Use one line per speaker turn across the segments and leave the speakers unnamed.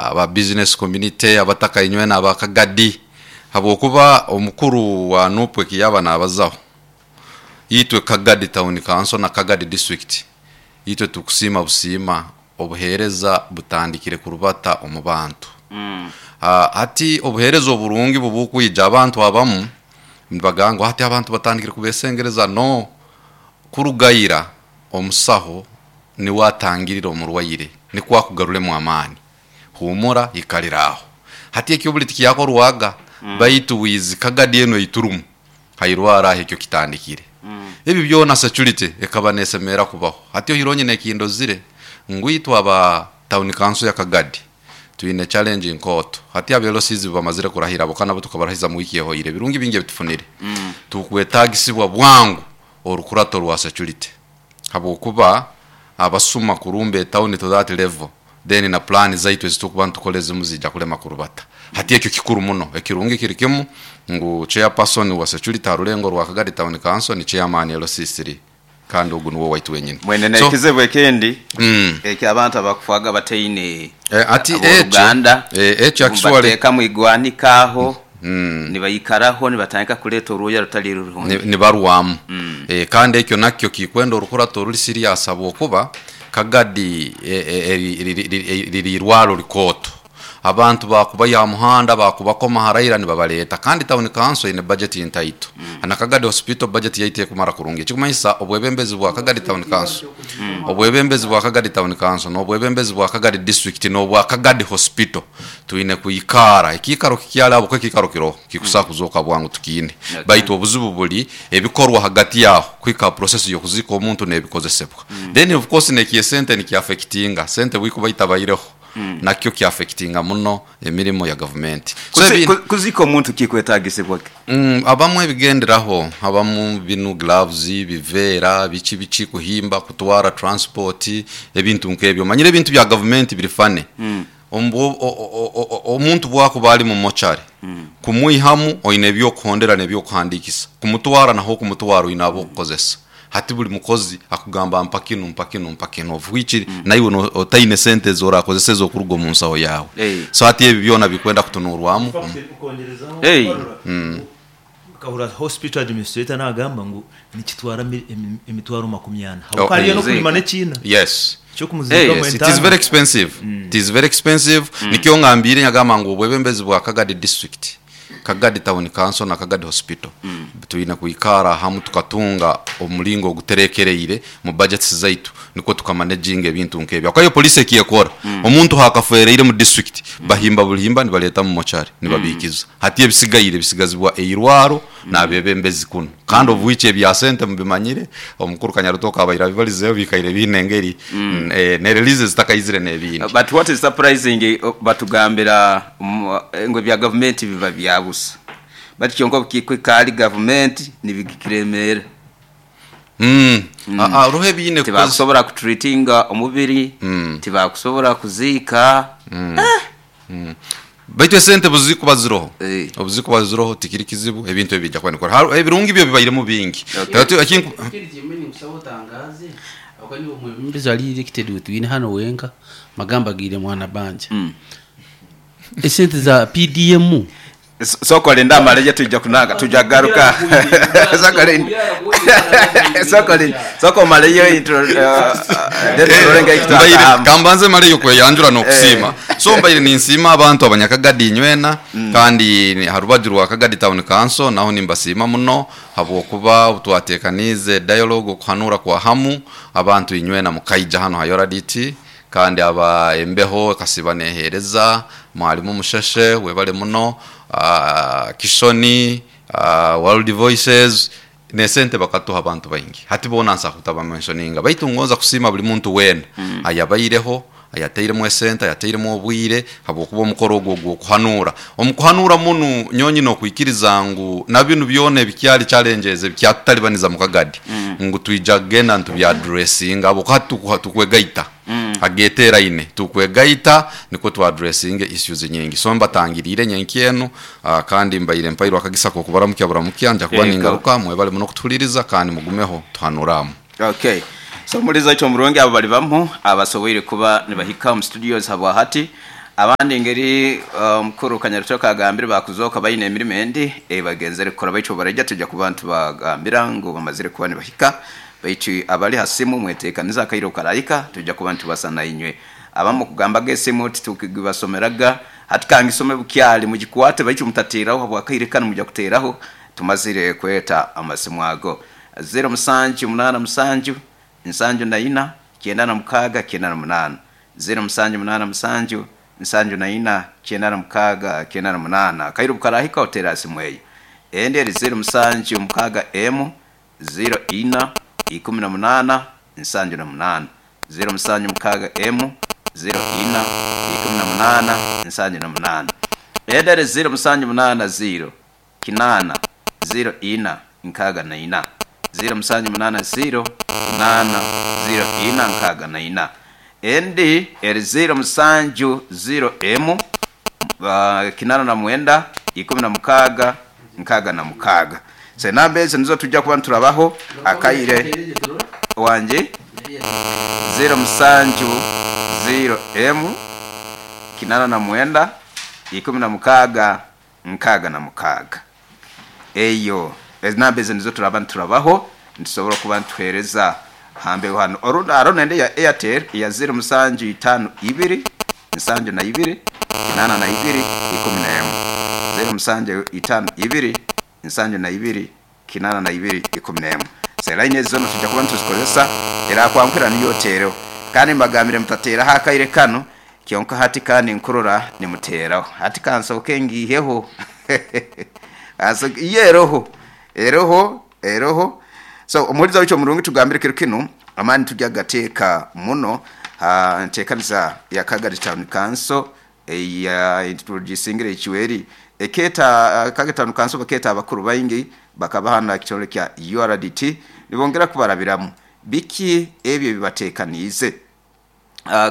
Aba business community, abataka inywena aba Kagadi, habwokuba omukuru wa NUP eki yaaba naabazaho, itwe Kagadi Town Council na Kagadi District, itwe tukusiima busiima obuheereza butandikire kurubata omu bantu. Hati obuheereza oburungi bubukwija abantu abamu nibagamba ngu hati abantu batandikire kubesengereza, no, kuruga ira omusaho niwe atangirira omurwaire nikwo akugaruremu amaani. Huumura ikalira aho. Hati ekyo buli tikyakorwaga baitu wizi Kagadi enu eiturumu hairwara aho ekyo kitandikire. Ebi byona security ekaba nesemerra kubaho. Hati ohiire onyine ekindozire ngu itwe aba town council ya Kagadi twine challenge nkooto. Hati aba LCs bamazire kurahira abo kandi nabo tukabarahiza mu wiiki ehoire. Ebirungi bingi ebitufunire. Tukwetagisibwa bwangu orukurato rwa security habwokuba abasuma kurumba etauni to that level then na plan zaitu ezitukuba nitukora ezimu ziija kulema kurubata. Hati ekyo kikuru muno. Ekirungi kiri kimu ngu chairperson wa security ha rurengo rwa Kagadi Town Council ni chairman LC3 kandi ogu nuwe owaitu wenyini.
Mwene
So,
n'ekizibu ekindi eky'abantu abakufaaga bataine
hati ekyo,
ab'oruganda,
ekyo actually
bateeka mu igwanika aho nibaikaraho nibatandika kuleeta orwoya rutali rurungi.
Nibarwamu. Kandi ekyo nakyo kikwenda orukurato oruri serious habwokuba Kagadi riri irwaro rikooto. Abantu baakubaiha aha muhanda, baakubakoma haraira nibabareeta. Kandi Town Council eine budget ntaito. Na Kagadi Hospital budget yaitu tekumara kurungi. Ekikumanyisa obwebembezi bwa Kagadi Town Council, obwebembezi bwa Kagadi Town Council n'obwebembezi bwa Kagadi District n'obwa Kagadi Hospital twine kwikaara. Ekiikaro kikyali ahabw'okuba ekiikaro kiroho kikusobola kuzooka bwangu tukiine. Baitu obuzibu buri ebikorwa hagati aho kuhika aha process y'okuziika omuntu n'ebikozesebwa. Then of course n'eky'esente nikiaffectinga, sente bwikuba itabaireho nakyo kiaffectinga muno emirimo ya gavumenti. So
Kuziika omuntu kikwetagisibwa ki?
Abamu ebigenderaho, abamu binu gloves, biveera, biki biki, kuhimba, kutwara, transport, ebintu nk'ebyo. Omanyire ebintu bya gavumenti biri funny. Omuntu bwakuba ari mu mochari, kumwihamu oine eby'okuhondera n'eby'okuhandiikisa. Kumutwara naho okumutwara oine ab'okukozesa. Hati buri mukozi akugamba mpa kinu, mpa kinu, mpa kinu of which naiwe otaine sente ezi orakozesa ez'okuruga omu nsaho yaawe. So hati ebi byona bikwenda kutunuurwamu.
Okwongyerezaho nkahurira hospital administrator nagamba ngu nikitwara emitwaro makumi ana habwokuba hariyo n'okurima n'ekiina ky'okumuziikamu
Yes, it is very
entaama.
expensive. It is very expensive. Nikyo ngambiire nyagamba ngu obwebembezi bwa Kagadi district Kagadi Town Council na Kagadi Hospital twine kwikaara hamu tukatunga omuringo oguterekereire mu budgets zaitu nikwo tukamanaginga ebintu nk'ebyo. Ahabw'okuba yo police eki ekora, omuntu haakafwereire mu district bahimba buhimba nibareeta mu mochari nibabiikiza. Hati ebisigaire bisigazibwa eirwaro n'abeebembezi kunu. Kandi of which ebya sente mubimanyire, omukuru Kanyarutooke abaire abibarizeho biikaire biine engeri ne releases zitakaizire n'ebindi.
But what is surprising batugambira ngu ebya gavumenti biba bya busa but kyonka obukikuhika ahari gavumenti nibigikiremeera.
Haroho ebiine kukozesa.
Tibakusobora kutreatinga omubiri, tibakusobora kuziika.
Baitu esente buzikuba ziroho, obuzikuba ziroho tikiri kizibu ebintu ebi biija kuba nibikora. Ebirungi byo bibairemu bingi.
Ekindi kimwe ninkusaba otangaaze ahabw'okuba niiwe omwebembezi ari elected ou twine hanu wenka magamba agaire mwana banja. Esente za PDM.
Sooka olinde amaleyo twija kunanga twija kugaruka. Sooka olinde sooka olinde sooka omaleyo intro then turole engeri
Mbaire
kitwataahamu.
kambanze maleyo kweyanjura n'okusiima. So mbaire ninsiima abantu abanyakagadi inywena kandi ha rubaju rwa Kagadi Town Council naho nimbasiima muno habw'okuba obu twateekaniize dialogue okuhanuura kwa hamu abantu inywena mukaija hanu ha Yoraditi Kandi aba embeho ekasiiba neeheereza, Mwalimu Musheshe webale muno, Kishoni, World Voices, n'esente bakatuha abantu baingi. Hati boona nsobola kutabamenshoninga baitu ngonza kusiima buri muntu weena ayabaireho, ayatairemu esente, ayatairemu obwire habw'okuba omukoro ogu ogw'okuhanuura. Omu kuhanuura munu nyowe nyine okwikiriza ngu na binu byona ebikyari challenges ebikyatutalibaniza mu Kagadi ngu twija kugenda nitubyaddressinga habw'okuba hati tukwegaita. Ageteeraine tukwegaita nikwo tu addressinge issues nyingi. So mbatangiriire nyenkya enu kandi mbaire mpairwe akagisa k'okubaramukya buramukya. Nja kuba ningaruka. Mwebale muno kutuhuliriza kandi mugumeho tuhanure.
Ok. So omuhuriza waitu omurungi abo bali bamu abasoboire kuba nibahika omu studios habwahati. Abandi engeri omukuru Kanyarutoka agambire bakuzooka baine emirimo endi ei bagenzere kukora, baitu obu baraija twija kuba nitubagambira ngu bamazire kuba nibahika. Baitu abali ha simu mweteekanize akaire obu karahika twija kuba nitubasa na inywe. Abamu kugambaga esimu titukigibasomeraga, hati kangisome bukyali mugikwate baitu mutateeraho habw'akaire kanu mwija kuteeraho tumazire kweta amasimu ago. Ziro musanju munaana musanju, nsanju na ina, kyenda na mukaaga, kyenda na munaana. Ziro musanju munaana musanju, nsanju na ina, kyenda na mukaaga, kyenda na munaana. Akaire obu karahika oteere ha simu eyo. Endi eri ziro musanju mukaaga emu, ziro ina, ikumi na munaana, nsanju na munaana. Ziro musanju mukaaga emu, ziro ina, ikumi na munaana, nsanju na munaana. Endi eri ziro musanju munaana ziro, kinaana, ziro ina, nkaaga na ina. Ziro musanju munaana ziro, kinaana, ziro ina, nkaaga na ina. Endi eri ziro musanju ziro emu, kinaana na mwenda, ikumi na mukaaga, nkaaga na mukaaga. So enamba ezo nizo tujja kuba niturabaho akaire wangi ziro musanju ziro emu, kinaana na mwenda, ikumi na mukaaga, nkaaga na mukaaga. Eyo enamba ezo nizo turaba niturabaho nitusobora kuba nituheereza hambeho hanu. Orundi haroho nende eya Airtel eya ziro musanju itaano ibiri, nsanju na ibiri, kinaana na ibiri, ikumi n'emu. Ziro musanju itaano ibiri, nsanju na ibiri, kinaana na ibiri, ikumi n'emu. So line ezo zoona twija kuba nituzikozesa, erakwanguhira niyo oteereho. Kandi mbagambire mutateeraho akaire kanu, kyonka hati kandi nkurora nimuteeraho. Hati kansooke ngiiheho. Yo eroho, eroho, eroho. So omuhuriza waitu omurungi tugambire kiro kinu, amaani tujya kugateeka muno ha nteekaniza ya Kagadi Town Council eya introducingire ekiweri. Ekeeta Kagadi Town Council bakeeta abakuru baingi bakabaha na kitongole kya URDT nibongera kubarabiramu biki ebyo ebibateekaniize.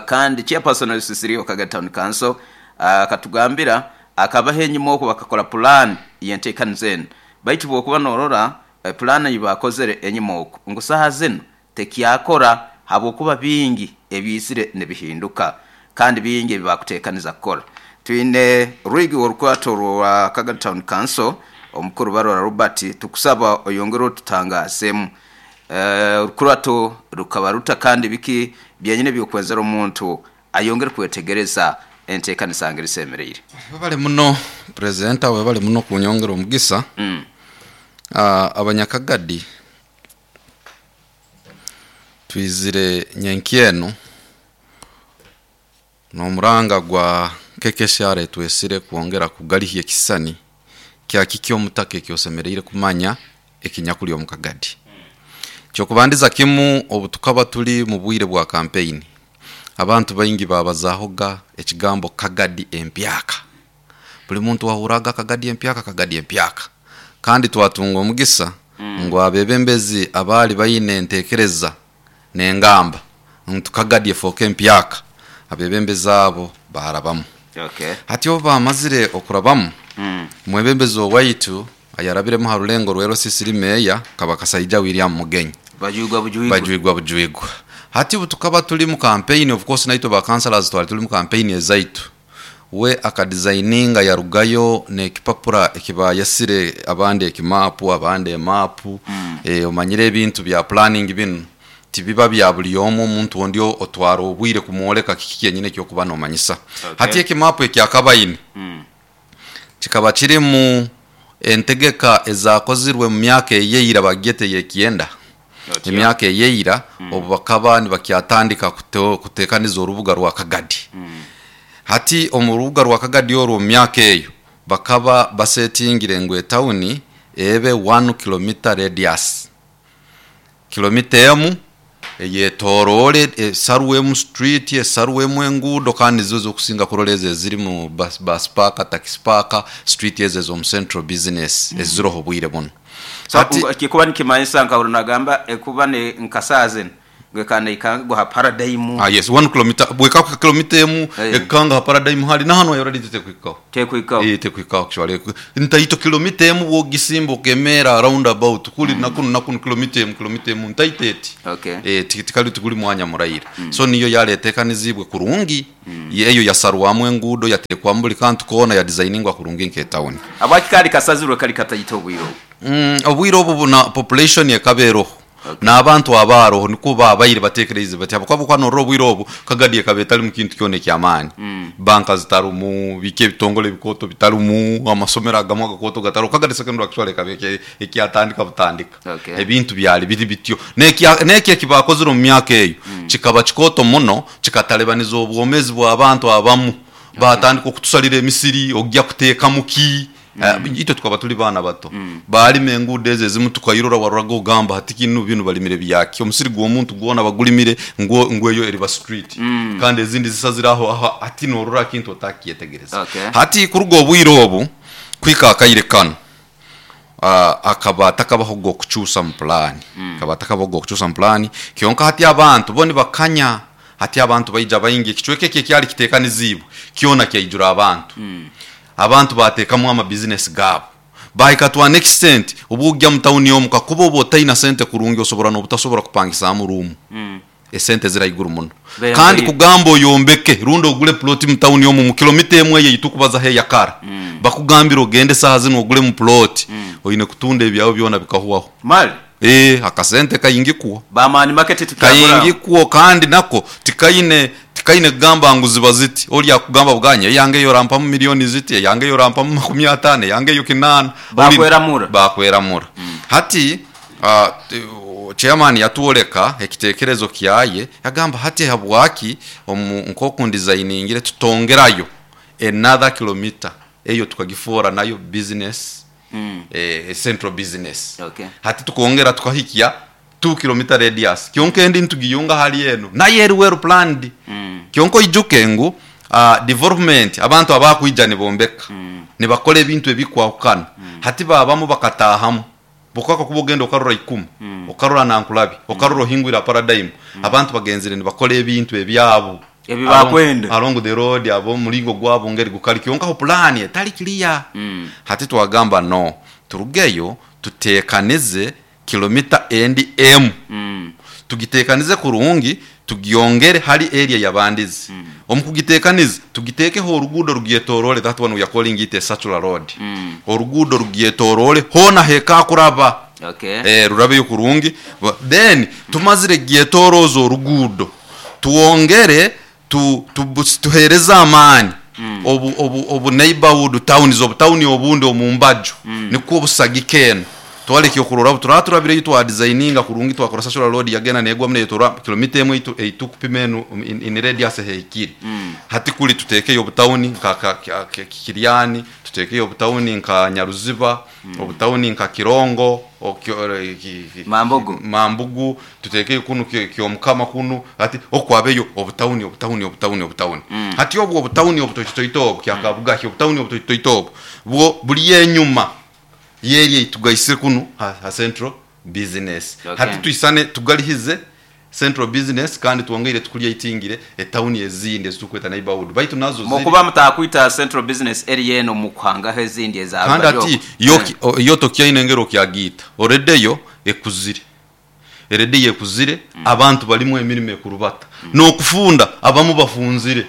Kandi chairperson wa Kagadi Town Council akatugambira akabaho enyima okwo bakakora pulaani y'enteekaniza enu. Baitu bw'okuba noorora pulaani ei baakozere enyima okwo ngu saaha zinu tekyakora habwokuba bingi ebiizire nibihinduka kandi bingi ebi baakuteekaniza kukora. Twine Rwigi w'orukwato rwa Kagadi Town Council, Omukuru Barora Robert, tukusaba oyongere otutangaazemu. Orukurato rukaba ruta kandi biki byenyini eby'okwenzera omuntu ayongere kwetegereza enteekanisa ngeri esemereire?
Webale muno Presenter, webale muno kunyongera omugisa. Abanyakagadi twizire nyenkya enu n'omuranga gwa KKCR etwesire kwongera kugarihya ekisisani kya kiki omutaka eki osemereire kumanya ekinyakuli omu Kagadi. Kyokubandiza kimu, obu tukaba turi mu bwire bwa kampeyini, abantu baingi babazahoga ekigambo Kagadi empyaka. Buli muntu wahuraga Kagadi empyaka, Kagadi empyaka. Kandi twatunga omugisa ngu abebembezi abaali baine entekereza n'engamba ngu Kagadi efooke empyaka, abebembezi abo baarabamu. Hati obu bamazire okurabamu, omwebembezi owaitu ayarabiremu ha rulengo rwa LCC meeya kaba Kasaija William Mugenyi.
Bajwigwa bujwigwa.
Bajwigwa bujwigwa. Hati obu tukaba turi mu campaign, of course naitwe ba councillors twali turi mu campaign ezaitu. We akadesigninga yarugayo n'ekipapura ekibayesire abandi ekimapu, abandi emapu. Omanyire ebintu bya planning binu tibiba bya buli omu, omuntu ondi otwara obwire kumwoleka kiki kyenyini ekyokuba nomanyisa. Hati ekimapu ekyakabaine kikaba kirimu entegeka ezakozirwe mu myaka eyeira bagyete eyekyenda. Emyaka eyeira obu bakaba nibakyatandika kutekaniza orubuga rwa Kagadi. Hati omu rubuga rwa Kagadi orwo omu myaka eyo bakaba basetingire ngu etawuni ebe 1 kilomita radius. Kilomita emu eyetoroore esarwemu street, esarwemu enguudo, kandi nizo ez'okusinga kurora ezo ezirimu bus park, taxi park, street ezo ez'omu central business eziroho obwire bunu.
So, kikuba nikimanyisa nka nagamba ekuba ni nka saaha zinu. Gwekana ikanga ha paradigm.
Ah, yes, 1 kilometer bweka ku kilomita emu ekanga ha paradigm hali nahano already tekuikaho.
Tekuikaho.
Eh, tekuikaho actually. Ntaito kilomita emu wogisimba okemera round about kuli nakunu nakunu kilomita emu ntaiteti.
Okay.
Eh, tikali tukuli mwanya muraira. So niyo yaletekanizibwe kurungi. Eyo yasarwamu engudo yatekwa mbuli kantu kona ya designingwa kurungi nke town.
Abakikali kasazirwe kali katayito obwiro.
Obwiro obu na population yekaberoho. Okay. N'abantu abaroho niko babaire batekereze bati abakwabo kwano obwiro obu Kagadi ekabetali mu kintu kyone kyamaani. Banka zitarumu, bike bitongole bikoto bitarumu, amasomero agamwe gakoto gataro. Kagadi secondary actually kabeke ekyatandika butandika.
Okay.
Ebintu byali biri bityo. Neki ekibakozire mu myaka eyo kikaba kikoto muno kikatalebaniza obwomezi bw'abantu abamu. Batandika okutusalira emisiri ojja kuteeka muki. Itwe tukaba tuli bana bato. Balime enguudo ezo ezimu tukairora warora ogamba hati kinu binu balimire byaki. Omusiri gw'omuntu gwona bagulimire ngweyo eriba street. Kandi ezindi zisaziraho aho ati norora kintu otakyetegereza.
Okay.
Hati kuruga obwire obu kwika akaire kano. Akaba takabaho gokuchusa mu plan. Akaba takabaho gokuchusa mu plan. Kyonka hati abantu boni bakanya hati abantu baija baingi kichweke kyali kitekanizibwe kyona kyaijura abantu. Abantu batekamu ama business gabo bahika to an extent obujja mu town yomuka kuba oba otaina sente kurungi osobora n'obutasobora kupangisa mu room. Esente ziraiguru muno. Kandi kugamba oyombeke rundo ogule plot mu town yomu mu kilomita emwe yitukubaza he yakara. Bakugambira ogende saha zino ogule mu plot. Oyine kutunda ebyawo byona bikahuwaho.
Mali
akasente kayingikuwa.
Bamani market tukagura.
Kayingikuwa kandi nako tikaine kugamba ngu ziba ziti. Oli akugamba buganya yange yo rampa mu milioni ziti, yange yo rampa mu 50, yange yo 8.
Bakweramura.
Bakweramura. Hati chairman yatuoleka ekitekerezo kyaye yagamba hati habwaki nkoku designingire tutongerayo another kilometer eyo tukagifora nayo business. Central business.
Okay.
Hati tukongera tukahikia 2 km radius. Kyonka endi ntugiyunga hali eno. Naye eri well planned. Kyonko ijuke ngu development abantu abakuija nibombeka. Nibakole ebintu ebikwahukana. Hati babamu bakatahamu. Bukaka kubogenda okarora 10. Okarora nankulabi, okarora hingwira paradigm. Abantu bagenzire nibakole ebintu ebyabo.
Ebibakwenda.
Along the road abo mulingo gwabo ngeri gukali kyonka ho plan etali clear. Hati twagamba no turugeyo tutekanize kilomita endi m. Tugitekanize kurungi tugiongere hali area yabandizi. Omukugitekanize tugitekeho orugudo rugietorole, that one we are calling it a circular road. Orugudo rugietorole hona heka kuraba.
Okay.
Rurabe kurungi. Then tumazire gietorozo orugudo tuongere tuhereza amani obu neighborhood towns obu town obundi omumbajo niko obusagikeno twaleke okurora turaturabire yitwa designinga kurungi twakora social road yagena negwa mune tora kilomita emwe itukupima eno in radius heikiri. Hati kuli tutekeyo obutawuni nka Kiriani, tutekeyo obutawuni nka Nyaruziba, obutawuni nka Kirongo,
Mambugu.
Mambugu, tutekeyo kunu Kyomukama kunu hati okwabeyo obutawuni obutawuni obutawuni obutawuni. Hati obwo obutawuni obutoitoito kyakabuga obutawuni obutoitoito bwo buli yenyuma yeri tugaisire kunu ha central business.
Okay.
Hati tuisane tugalihize central business kandi tuongere tukulya itingire etawuni ezindi ezitukweta neighborhood baitu nazo ziri
mukuba mutakwita central business area eno mukwanga ezindi eza
kandi ati yo tokyaine ngero kyagita already yo ekuzire erede yekuzire abantu balimu emirimo ekurubata nokufunda abamu bafunzire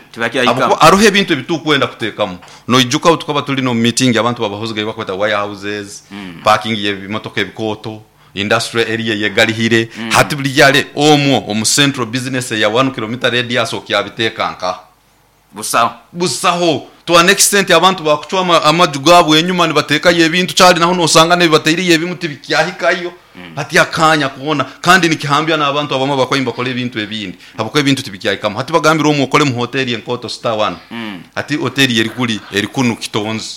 aruhe ebintu ebitukwenda kutekamu noijuka tukaba tuli no meeting abantu babahoziga bakweta warehouses parking y'ebimotoka ebikoto industrial area yegalihire hati buli yale omwo omu central business ya 1 km radius okyabitekanka
busaho
busaho to an extent abantu bakuchwa amaju gabo enyuma nibatekayo ebintu cyali naho nosanga nebibateiriye ebimuti bikyahikayo hati akanya kuona kandi nikihambya n'abantu abamwe bakoyimba bakora ebintu ebindi habako ebintu tibikyahikamo hati bagambira omwo okole mu hotel enkoto star 1 hati hotel eri kuli eri kunu kitonzi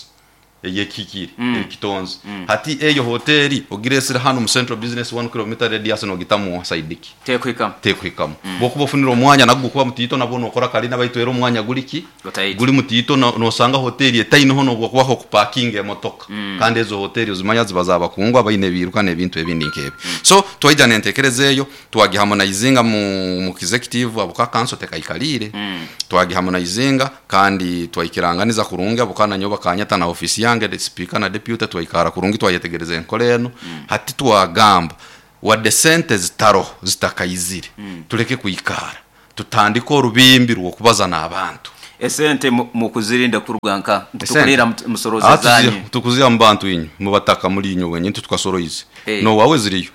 Eyekikire ekitonzi hati eyo hoteri ogiresire hanu mu central business 1 km radius nogitamu saidiki
Tekuhikamu.
Tekuhikamu. Bwokuba ofunire omwanya nagwo gukuba mutiito, nabwo nokora kalina, baitu era omwanya guli ki?
Gutaito.
Guli mutiito. Nosanga hoteri etaineho nobwokubaho okupakinga emotoka. Kandi ezo hoteri ozimanya ziba zabakungu abaine ebiiruka n'ebintu ebindi nk'ebyo. So twaija n'entekereza eyo, twagiharmonizinga mu executive abo ka council tekaikaliire. Twagiharmonizinga kandi twaikiranganiza kurungi abo kana nyowe bakanyeta na ofisi yange, the speaker na deputy, twaikara kurungi, twayetegereza enkora eno. Hati twagamba wadde sente zitaroho, zitakaizire, tuleke kwikara, tutandike orubimbi rw'okubaza n'abantu.
Esente mukuzirinda kuruga nka
Esente?
Tukulira musoroza zanyu.
Tukuziha mu bantu, inywe mubataka muri inywe wenyini, tutukasoroize. Nowawe ziriyo.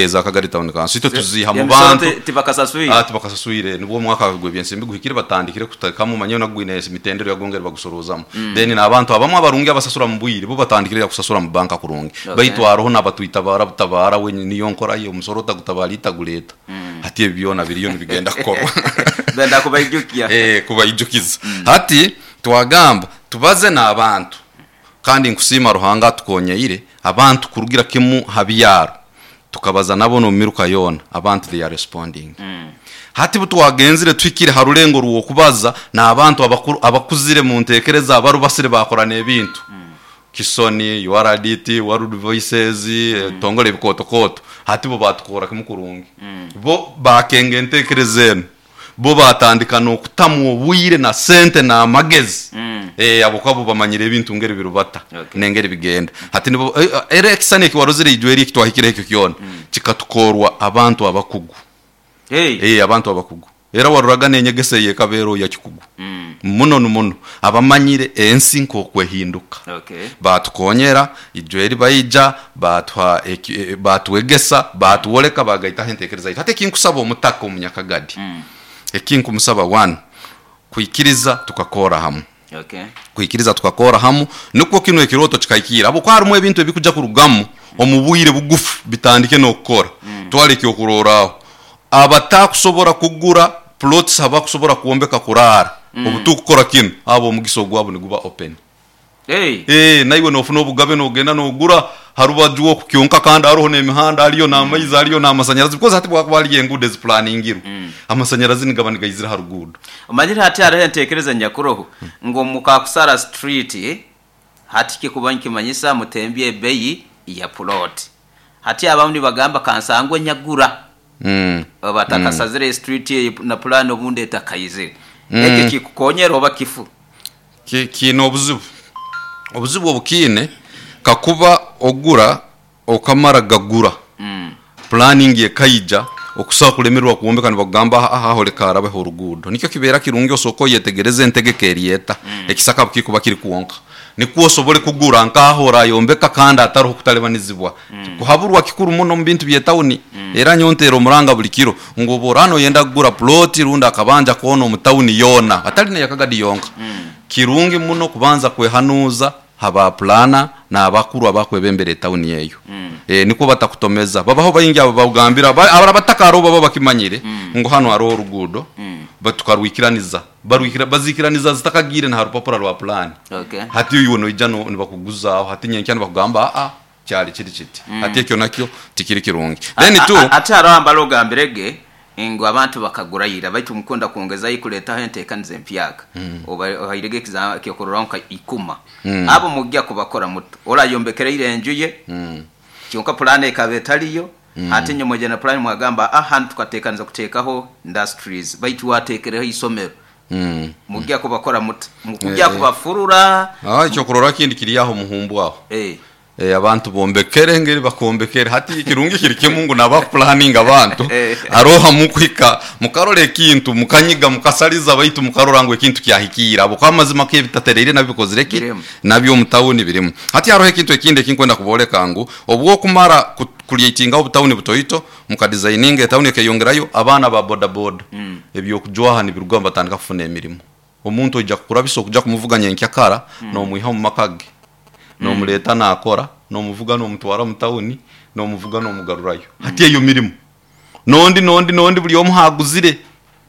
Za Kagari Town Council itwe tuziha mu
Emisoro
bantu.
Tibakasaswire.
Tibakasaswire. Nibwo omwaka gw'ebyensimbi guhikire batandikire kutekamu, manye nagwine emitendero yagongere bagusorozaamu. Then n'abantu abamwe abarungi abasasura mu bwire bo batandikire kusasura mu banka kurungi. Baitu haroho n'abatwitabara butabara, we niyo nkora ye, omusoro otagutabara itaguleta. Hati ebi byona biriyo nibigenda kukorwa.
Benda kubaijukia.
Kubaijukiza. Hati twagamba tubaze n'abantu, kandi nkusiima Ruhanga atukonyeire abantu kurugira kimu ha byaro, tukabaza nabo n'omumiruka yoona, abantu they are responding. Hati butwagenzire tuhikire ha rulengo rw'okubaza n'abantu abakuru, abakuzire mu ntekereza, abarubasire bakora n'ebintu. Kisoni, URDT, World Voices, tongole ebikotokoto, hati bo batukora kimu kurungi. Bo bakenga entekereza eno, bo batandika n'okutamu obwire na sente n'amagezi. Abo kwabo bamanyire ebintu ngeri birubata nengeri bigenda. Hati nibo era ekisani ekiwarozire ijwe eri ekitwahikire ekyo kyona kikatukorwa abantu abakugu. Abantu abakugu, era waruraga n'enyegesa eyekabeero ya kikugu muno muno, abamanyire ensi nk'okwehinduka. Batukonyera ijwe eri, baija batuha batwegesa, batuwoleka, bagaitaho entekereza yaitu. Hati ekinkusaba omutaka omunyakagadi, ekinkumusaba, one, kwikiriza tukakora hamu. Kwikiriza tukakora hamu, nukwo kino ekiroto kikahikira, habwokuba harimu ebintu ebikuja kurugamu omu bwire bugufu bitandike n'okukora. Twara ekyokurorraho, abatakusobora kugura plots, abakusobora kwombeka kuraara, obu tukukora kinu, abo omugisa ogwabo niguba open. Naiwe nofuna obugabe nogenda nogura harubaju oku kyonka, kandi haroho n'emihanda, hariyo n'amaizi, hariyo n'amasanyarazi, because hati bwakuba hariyo enguudo eziplaningirwe, amasanyarazi nigaba nigaizira ha ruguudo.
Omanyire hati hariho entekereza nyakuroho ngu mukakusara street, hati kikuba nkimanyisa mutembye ebeyi ya plot. Hati abamu nibagamba kansangwe nyagura batakasazire street eyo na plan obundi etakaizire. Ekyo kikukonyera oba kifu?
Kiine obuzibu. Obuzibu obukiine, kakuba ogura okamara gagura, planning ekaija okusobola kulemererwa kwombeka, nibakugamba aho leka harabeho oruguudo. Nikyo kibeera kirungi osooka oyetegereze entegeka eryeta ekisaka bukikuba kiri kwonka, nikwo osobole kugura nkaho orayombeka kandi ataroho kutalibanizibwa. Kuhaburwa kikuru muno omu bintu by'etawuni. Era nyowe nteera omuranga buli kiro ngu obu oraba noyenda kugura ploti rundi akabanja koona omu tawuni yoona, atali n'eyakagadi yonka, kirungi muno kubanza kwehanuuza ha ba planner n'abakuru abakwebembera etawuni eyo. Nikwo batakutomeza. Babaho baingi abo bagambira abataka hariho baba bakimanyire ngu hanu hariho oruguudo, tukarwikiraniza, barwikira bazikiraniza zitakagiire na ha rupapura rwa plan. Hati iwe noija nibakuguzaaho, hati nyenkya nibakugamba aa kyali kiri kiti. Hati ekyo nakyo tikiri kirungi. Then tu
Ate hariho ambala ogambirege ngu abantu bakagura ira, baitu mukunda kwongezayo kuleetaho enteekaniza empyaka. Oba ohairege ekyokurorraho nka ikuma. Abo mujja kubakora muto orayombekereire enju ye, kyonka pulaani ekaba etaliyo. Ate inywe mwija na pulaani mwagamba hanu tukateekaniza kuteekaho industries, baitu wateekereho isomero. Mujja kubakora muta? Mukujja kubafurura?
Ekyokurorraho kindi kiri aho muhumbu aho. Abantu bombekere ngeri bakombekere. Hati kirungi kiri kimu ngu nabakupulaninga abantu aroha mukuhika mukarora ekintu, mukanyiga, mukasaliza, baitu mukarora ngu ekintu kyahikiire, abo kwa amazima kebitatereire nabyo bikozire ki?
Birimu.
Nabyo omu tawuni birimu. Hati haroho ekintu ekindi ekinkwenda kuboleka ngu obwokumara kucreatingaho obutawuni butoito, mukadesigninga etawuni ekeyongerayo, abaana ba boda boda ebyokujwaha nibirugamu, batandika kufuna emirimo. Omuntu oija kukurabisa okuja kumuvuga nyenkya kara, nomwiha omu maka ge nomuleta nakora, nomuvuga nomutwara mu tawuni, nomuvuga nomugarurayo. Hati eyo mirimo nondi nondi nondi buli omu haguzire.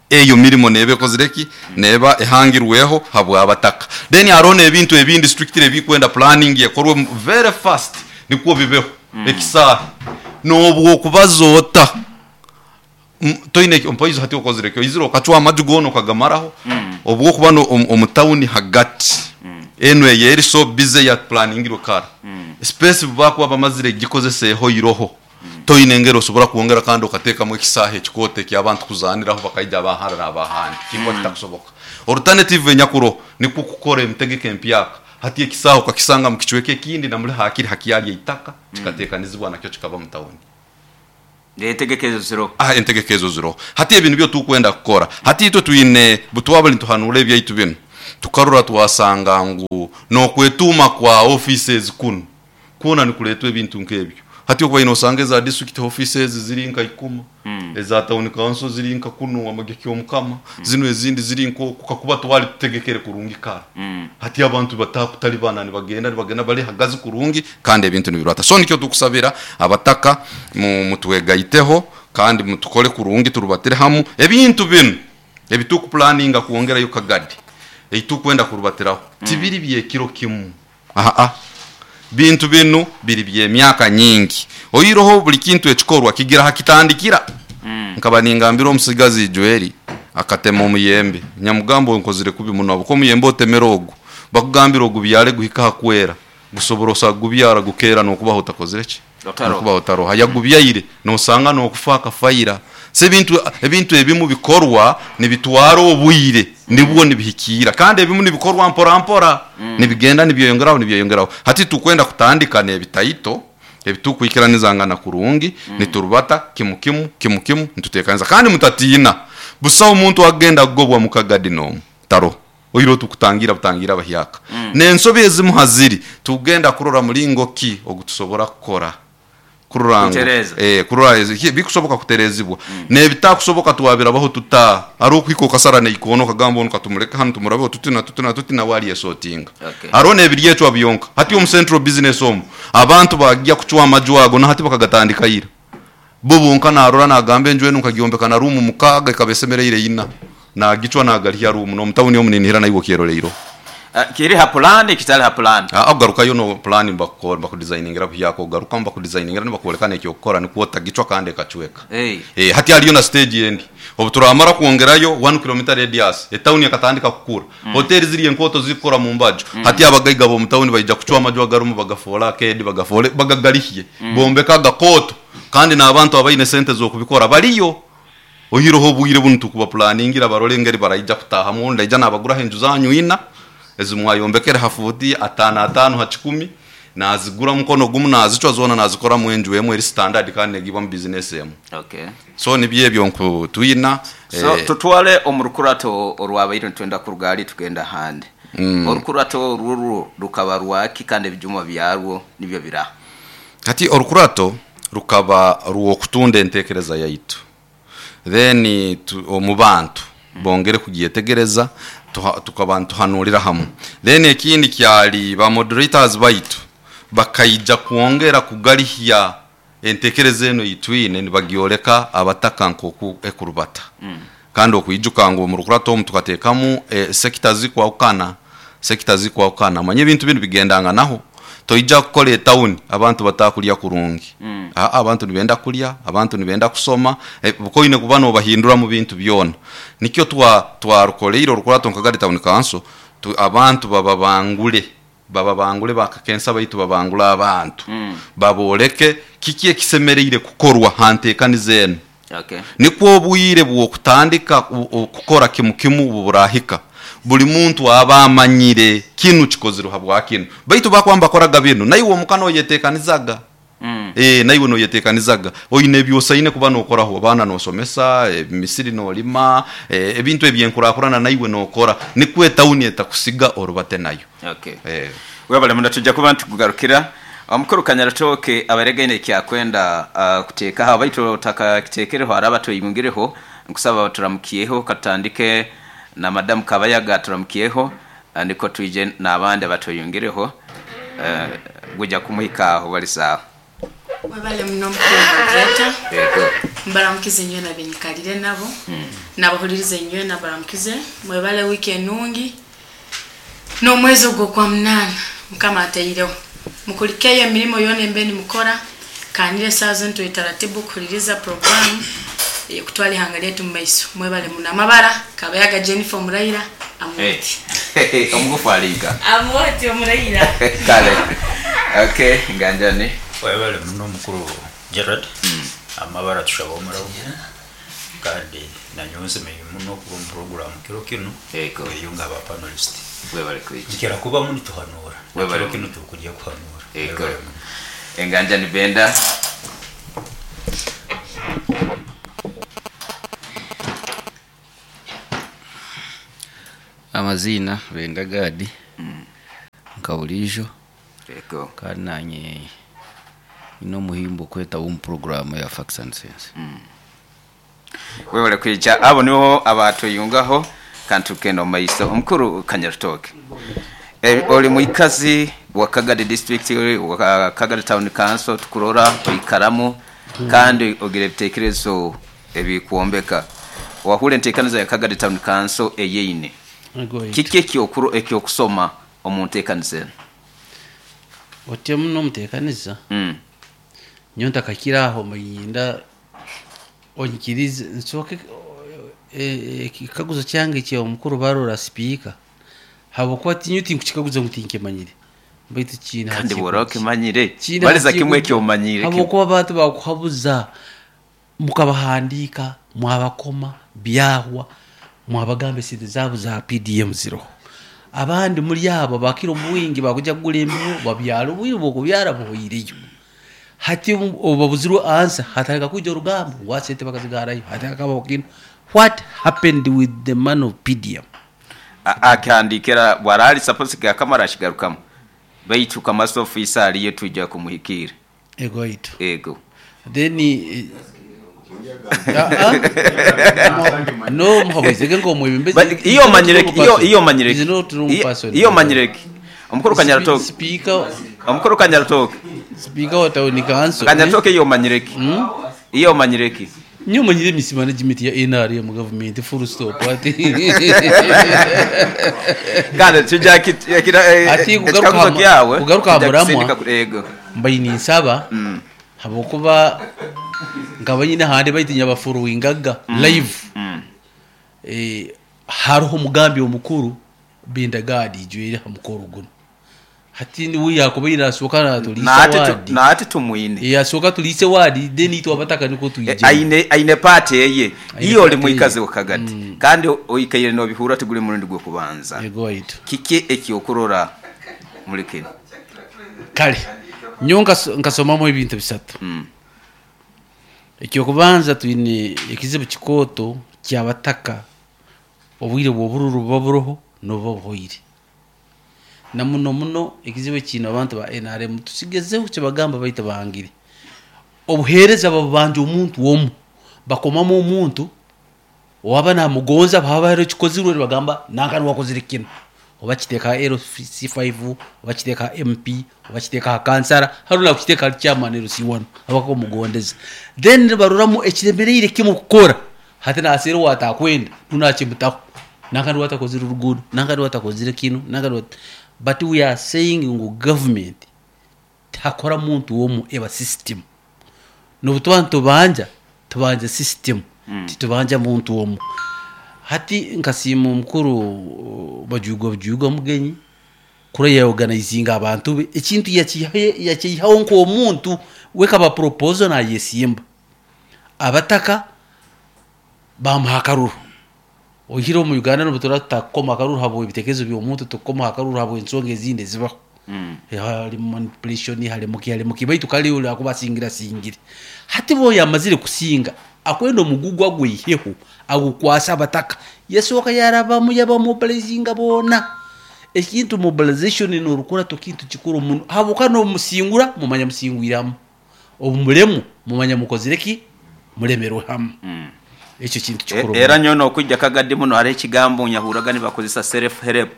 Eyo mirimo neeba ekozire ki? Neeba ehangirweho habw'abataka. Then haroho n'ebintu ebindi strictly ebikwenda planning ekorwe very fast nikwo bibeho. Ekisaahe n'obwokubaza ota toine mpoizi hati okozire ki? Oizire okacwa amaju goona okagamaraho obwokuba omu town hagati enu eyeri so busy eya planingirwe kara, space bubakuba bamazire kugikozesa ehoiroho. Toine engeri osobora kwongera kandi okateekamu ekisaahe ekikooto eky'abantu kuzaaniraho bakaija aba hara n'aba handi. Kinkuba kitakusoboka. Orutanetivu enyakuroho nikwo kukora emitegeko empyaka. Hati ekisaahe okakisanga mu kicweka ekindi na muli haakiri hakyali eitaka, kikateekanizibwa nakyo kikaba mu tawuni.
Entegeka ezo ziroho.
Aha, entegeka ezo ziroho. Hati ebi nibyo tukwenda kukora. Hati itwe twine, butwabali nituhanuura ebyaitu binu, tukarora twasanga ngu n'okwetuuma kwa offices kunu, Kwona nikureetwa ebintu nk'ebyo. Hati okubaire noosanga eza district offices ziri nka ikuma, eza town council ziri nka kunu Amagye Kyomukama, zinu ezindi ziri nk'oku kakuba twali tutegekere kurungi kara. Hati abantu batakutalibana nibagenda nibagenda bari hagazi kurungi kandi ebintu nibirwata. So nikyo tukusabira abataka mutwegaiteho kandi mutukole kurungi turubatire hamu ebintu binu ebi tukupulaninga kwongerayo Kagadi ei tukwenda kurubatiraho tibiri by'ekiro kimu. Aa, bintu binu biri by'emyaka nyingi. Oiroho buli kintu ekikorwa kigira ha kitandikira. Nkaba ningambira omusigazi Joeli akatema omuyembe. Nyamugamba onkozire kubi muno habwokuba omuyembe otemere ogu, bakugambira ogubyare guhike ha kwera, gusobora osa kugubyara gukeera n'okubaho otakozire ki? N'okubaho otaroho. Yagubyaire nosanga n'okufa akafa ira. So ebintu ebintu ebimu bikorwa nibitwara obwire nibwo nibihikiira kandi ebimu nibikorwa mpora mpora nibigenda nibyeyongeraho nibyeyongeraho. Hati titukwenda kutandika n'ebitaito ebitukwikiranizangana kurungi niturubata kimu kimu kimu kimu nitutekaniza kandi mutatiina busaho muntu akugenda kugobwa mu Kagadi n'omu taroho. Oihireho tukutangiira butangiire abahyaka n'ensobi ezimu ha ziri tukugenda kurora mulingo ki ogu tusobora kukora. Kurora ngu
Kutereeza.
eh, kurora ezi- bikusoboka kutereezibwa n'ebitakusoboka twabirabaho tuta. Haroho okuhika okasara n'eikoona okagamba onu katumuleke hanu tumurabeho tuti na tuti na tuti nawe alyesotinga.
Okay.
Haroho n'ebiryecwa byonka. Hati omu Central Business omu abantu bagya kucwa amaju ago na hati bakagatandika ira. Bo bonka narora nagamba enju enu nkagyombeka na ruumu mukaaga ekaba esemereire ina. Nagicwa nagarihya ruumu n'omu tawuni omu ninihira naiwe okyeroreireho.
Kiri ha pulaani kitali ha pulaani?
Aa kugarukayo no pulaani nibakudizainingira buhyaka ogarukamu bakudizayiningira nibakwoleka n'ekyokukora nikwo otagicwa kandi ekacweka.
Hey.
Hati hariyo na siteegi endi obu turamara kwongerayo one kilometer radius etawuni ekatandika kukura. Hoteeri ziri enkooto zirikukora mu mbaju. Hati abagaiga b'omu tawuni baija kucwa amaju agarimu bagafoole akeedi bagafoole bagagarihye bombeke agakooto kandi n'abantu abaine sente z'okubikora bariyo. Oihireho obwire bunu tukubapulaningira barole engeri baraija kutaahamu ondi aija nabaguraho enju zanyu ina ezi mwayombekere ha fuuti ataano ataano ha kikumi nazigura mukono gumu nazicwa zoona nazikoramu enju emu eri sitandadi kandi negiibwamu bizinesi emu.
Okay.
So nibyo ebyo nku twina.
So tutwale omu rukurato orwabaire nitwenda kuruga hali tugenda ahandi. Orukurato orwo rwo rukaba rwaki kandi ebijuma byarwo nibyo biraha?
Hati orukurato rukaba rw'okutunda entekereza yaitu then omu bantu bongere kugyetegereza tukaba nituhanuurira hamu. Then ekindi kyali ba moderators baitu bakaija kwongera kugarihya entekereza enu ei twine nibagyoleka abataka nk'oku ekurubata. Kandi okwijuka ngu omu rukurato omu tukateekamu sector zirikwahukana, sector zirikwahukana. Omanye ebintu binu bigendanganaho. Toija kukora etawuni abantu batakurya kurungi. Aa, abantu nibenda kurya, abantu nibenda kusoma, buka oine kuba nobahindura omu bintu byona. Nikyo twarukoreire orukurato nka Kagadi Town Council, abantu bababangure, bababangure ba kakensa baitu babangure abantu, babooreke kiki ekisemereire kukorwa ha nteekaniza enu. Nikwo obwire bw'okutandika kukora kimu kimu obu buraahika, buli muntu aba amanyire kinu kikozirwe habwa kinu. Baitu bakuba nibakoraga binu, naiwe omuka noyeteekanizaga. Ee, naiwe noyeteekanizaga. Oine ebi osaine kuba nookoraho, abaana noosomesa, emisiri noolima, ebintu eby'enkurakurana naiwe nookora, nikwo etawuni etakusiga orubate nayo.
Okay.
Ee.
Webale muno twija kuba nitukugarukira. Omukuru Kanyarutooke abaire gaine eki akwenda kuteekaho baitu otakakiteekereho hariho abatweyungireho nkusaba baturamukyeho katutandike na Madamu Kabayaga aturamukyeho nikwo twije n'abandi abatweyungireho gwija kumuhika aho bali saaha.
Webale muno mukuru Moderator.
Yego.
Mbaramukize nywena benyikalire nabo. Nabahulirize nywena baramukize. Mwebale wiki enungi. N'omwezi ogwo kwa munana mukama ateireho. Mukulikeyo emirimo yona embe nimukora. Kanire saa zino tuli taratibu kuhuliriza programu kutwala ihanga lyetu mu maiso. Mwebale muno amabara Kabayaga Jennifer Omuraira Amuoti.
Omugufu aliga.
Amuoti Omuraira.
Kale. Okay, nganjani.
Webale muno mukuru Gerard. Amabara tushaba omurabu. Kandi nanyonse muno kuba mu program kiro kino. Eyo nga aba panelist.
Webale kwija.
Nkira kuba muni tuhanura.
Webale
kino tukujya kuhanura.
Ego. Enganjani Benda.
Amazina Benda Gadi. Nkabulijo.
Ego.
Kandi nanye ino muhimbo kweta program ya Facts and Sense.
Webale kwija abo niho abatuyungaho kantu kendo maiso omukuru Kanyarutoke. Oli muikazi wa Kagadi district wa Kagadi town council tukurora oikaramu kandi ogira ebitekerezo ebikuombeka. Wahule ntekaniza ya Kagadi town council eyeine. Kiki ekyokuru ekyokusoma omuntekanize?
Otye muno mutekaniza. Nyonta kakiraho muyinda onyikirize nsoke ekikaguzo kyange kya omukuru barora speaker. Habwokuba tinyuti nkukikaguza ngu tinkimanyire. Baitu kina
kandi boroke manyire. Baliza kimwe ekyomanyire.
Habwokuba abantu bakuhabuza mukabahandika mwabakoma byahwa mwabagamba sente zabo za PDM zero. Abandi muri abo bakira omuwingi bakuja kugula embibo babyala obwire bwokubyara buhwireyo. Hati obabuzirwe ansa hatarika kuja orugamba wasente bakazigarayo hatarika bakino. What happened with the man of PDM?
Akandikira bwarali suppose gakamara ashigarukamu. Baitu kamaso officer aliye tujja kumuhikira.
Ego itu.
Ego.
Then no muhabwizege ngo mwebembezi.
Iyo manyireki iyo manyireki. Iyo manyireki. Omukuru Kanyarutoke.
Speaker.
Omukuru Kanyarutoke.
Speaker wa town council.
Kanyarutoke iyo manyireki. Iyo manyireki.
Nyo manyire misi management ya NRM mu government full stop ati.
Kandi tujya kira
ati kugaruka muramwa. Mbayi nsaba habokuba ngaba nyine hande bayitinya bafuruwingaga live. Hariho umugambi omukuru Benda Gadi jwere hamukoro guno. Hati ni wiya kuba irasoka na tulise wadi.
Na ati tumuine.
Yasoka tulise wadi then itwa bataka niko tuyije.
Aine party yeye. Iyo oli muikaze wakagati. Kandi oikaire no bihura tugule murundi gwo kubanza.
Yego itu.
Kike ekyokurora muri kino.
Kale. Nyo nkasomamo ebintu bisatu. Ekyokubanza twine ekizibu kikoto kyabataka obwire bw'obururu buba nobo buhoire. Na muno muno ekizibu kino abantu ba NRM tusigezeho kibagamba baita bahangire. Obuhereza babanje omuntu omu bakomamo omuntu waba namugonza baba hero kikozirwe bagamba nankani wakozire kino. Oba kiteka LC5 oba kiteka MP oba kiteka kansara harula kiteka chairman LC1 abako mugondeza. Then baruramu ekiremereire kimu kukora hati nasero watakwenda tunachimutaho nankani watakozire urugudo nankani watakozire kino nankani. But we are saying ngu government takora muntu womu eba system. Nobutuba tubanja tubanja system. Titubanja muntu womu. Hati nkasimu mukuru bajugo mugenyi kure ya organizing abantu be ekintu yakihaho nko omuntu weka ba proposal na yesimba. Abataka bamuhakaruru. Ohiro mu Uganda no butora takoma akaruru habo ibitekezo byo muntu tukoma akaruru habo ensonga ezindi zibaho. Hari manipulation hari muki hari muki baitu kali uli akubasingira singire. Hati bo yamazire kusinga akwenda omugugwa gwiheho agukwasa abataka. Yesoka yaraba mu yaba mobilizinga bona. Ekintu mobilization no rukura tokintu kikuru muno. Habuka no musingura mumanya musingwiramu. Obumulemu mumanya mukozireki mulemerwe hamu. Ekyo kintu kikuru.
Era nyono okujja Kagadi muno hari ekigambo nyahuraga nibakozesa self help.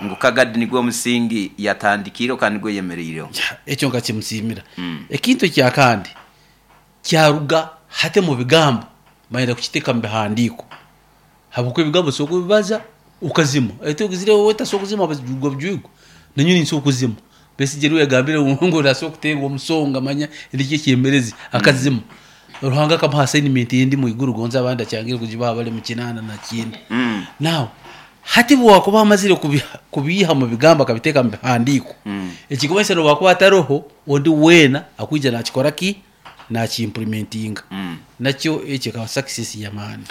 Ngu Kagadi nigwo musingi yatandikiro kandi gwe yemereire.
Ekyo nkakimusimira. Ekintu kya kandi kyaruga Hati mu bigambo bayenda kukiteeka mu bihandiiko, habwokuba ebigambo osobola kubibaza okazima, ete ogizire wowe tasobola kuzima bujwigwa bujwigwa, nanyowe ninsobola kuzima. Besigye niwe yagambire ngu nasobola kuteerwa omusonga manya nikyo ekyemerezi akazima. Ruhanga akamuha assignment endi mwiguru gonza abandi akyangire kugibaha bali mu 89. Now hati bwakuba amazire kubiiha mu bigambo akabiteeka mu bihandiiko, ekikumanyisa nobwakuba ataroho ondi weena akwija nakikora ki? Nakiimplementinga. Nakyo ekyo ekaba success y'amaani.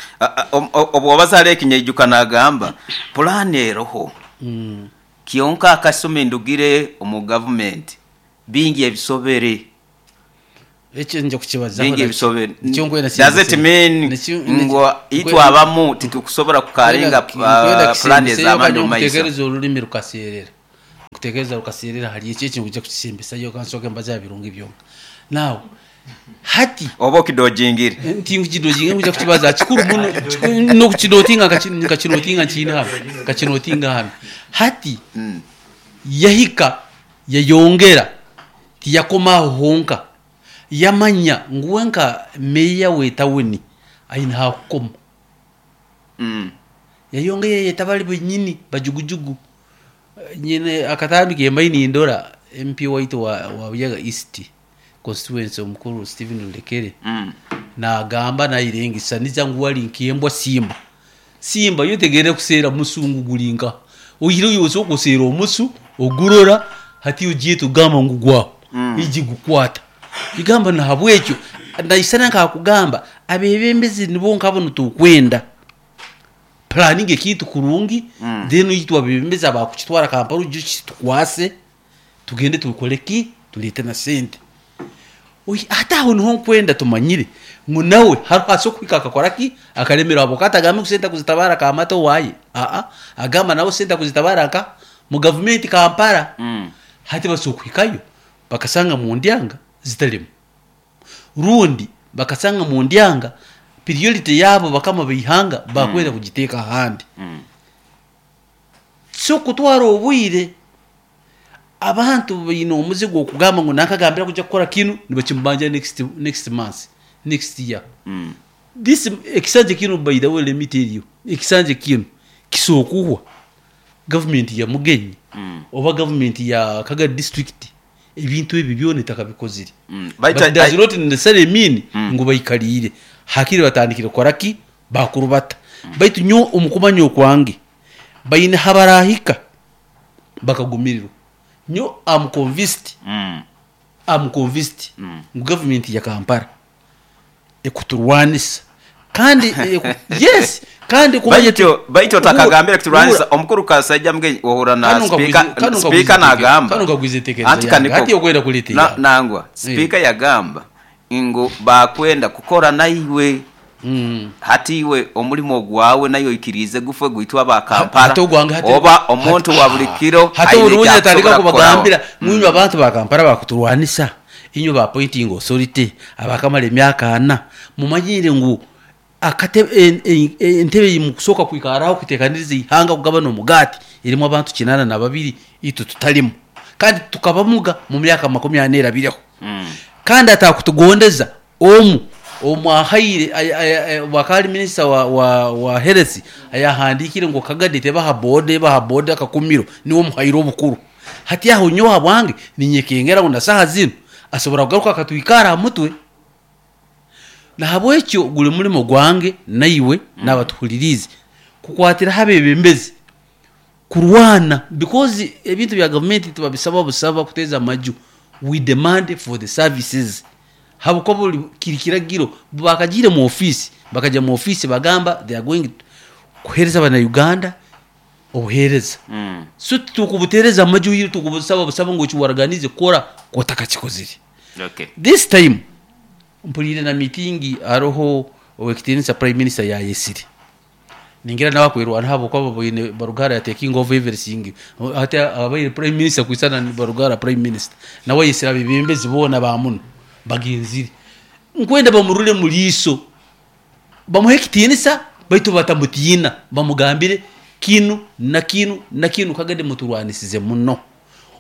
Obu wabaza hali ekinyaijuka nagamba pulaani eroho, kyonka akasumi ndugire omu gavumenti bingi ebisobere.
Ekyo nja kukibazaho
bingi
nakyo.
Ebisobere.
Nikyo nkwenda
Does it
kisembeseyo.
mean ngu itwe abamu titukusobora kukaringa
Nkwenda
pulaani
kisembeseyo
ez'amaani
kandi
omu maiso?
nkutekereza orulimi rukaseerera, nkutekereza rukaseerera hali ekyo ekyo nkuja kukisembesayo kansooke mbaze aha birungi byonka. Now hati
oba okidojingire?
Ntinkukidojinga, nkuja kukibaza kikuru muno, n'okukinotinga nkakinotinga nkiine hano, nkakinotinga hano. Hati yahika yayongera, tiyakoma aho honka, yamanya ngu we nka meya w'etawuni aine hakukoma. Yayongera yayeta bali benyini bajugujugu. Nyine akatambi kembayi nindora MP waitu wa Buyaga East constituency omukuru Stephen Lulekere nagamba nayirengesaniza ngu wali nkembwa simba. Simba yo tegere kuseera musungu gulinka oyire yoso kuseera omusu ogurora hati ugiye tugamba ngu gwaho iji gukwata igamba. Na habwekyo naisana nkakugamba abebembezi nibo nkabo nitukwenda planning ekintu kurungi, then itwe abebembezi abakukitwara Kampala ujye kitukwase tugende tukole ki, tulete na sente. Oyi, ate aho niho nkwenda tumanyire ngu nawe hariho ase okuhika akakora ki akaremera abo katagambe ngu sente kuzitabara kamata owaye, aa, agamba nawe sente kuzitabara nka mu gavumenti Kampala. Hati basobola kuhikayo bakasanga mu ndyanga zitalimu, rundi bakasanga mu ndyanga priority yabo bakama baihanga bakwenda kugiteeka ahandi. So kutwara obwire, abantu baine omuzigo okugamba ngu nakagambira kuja kukora kinu nibakimubanja next month, next year. This ekisanja kinu, by the way, let me tell you, ekisanja kinu kisokuhwa gavumenti ya Mugenyi oba gavumenti ya Kagadi district ebintu ebi byona etakabikozire. But does not necessarily mean ngu baikaliire hakiri batandikire kukora ki bakurubata. Baitu nyo omukumanya okwange baine habarahika bakagumirirwa. Nyo am convinced, am convinced ngu gavumenti ya Kampala ekuturwanisa kandi yes, kandi kumanya
Baitu otakagambire kuturwanisa, omukuru Kasaija Mugenyi, ohura na speaker, speaker nagamba
Kanu nkagwiza entekereza
Anti
yange.
kaniko
Hati okwenda kuleeta yawe.
Nangwa speaker yagamba ngu bakwenda kukora naiwe. Hati iwe omulimo gwawe nayo oikirize gufe gwitwa aba Kampala
Hati ogwange
oba omuntu wa buli kiro
hati
aine
obundi
ekyakusobora
atandika kubagambira
kukoraho.
mwinywe abantu ba Kampala bakuturwanisa, inywe ba appointing authority abakamara emyaka 4, mumanyire ngu akate entebe mukusooka kwikaraho kutekaniriza ihanga kugabana omugati erimu abantu 82, itwe tutalimu kandi tukabamuga mu myaka 40 erabireho. Kandi atakutugondeza omu omwahaire wakali minisita wa health ayahandikire ngu Kagadi tebaha boda, ebaha boda akakumiro, niwe omuhaire obukuru. Hati aho nyowe habwange ninyekengera ngu na saha zinu asobora kugaruka akatwikara aha mutwe. Nahabwekyo guli mulimo gwange naiwe n'abatuhuliriize kukwatiraho abebembezi kurwana, because ebintu bya gavumenti tibabisaba busaba kuteeza amaju, we demand for the services, habwokuba buli kiri kiragiro. Bakagiire mu office, bakajya mu office bagamba they are going kuheereza abana-Uganda obuheereza. So tukubuteereza amaju hiri tukubusaba busaba ngu ekiwaraganize kukora kotakakikozire. This time mpulire na meeting hariho owekitiinisa prime minister yayesire, ningira nawe akwirwana habwokuba baboine Barugara ya taking over everything. Hati abaire prime minister kwisana ni Barugara prime minister, nawe yesire abebembezi boona bamuno bagenzire nkwenda bamurule muliiso, bamuhe ekitiinisa baitu batamutiina, bamugambire kinu na kinu na kinu. Kagadi muturwanisize muno.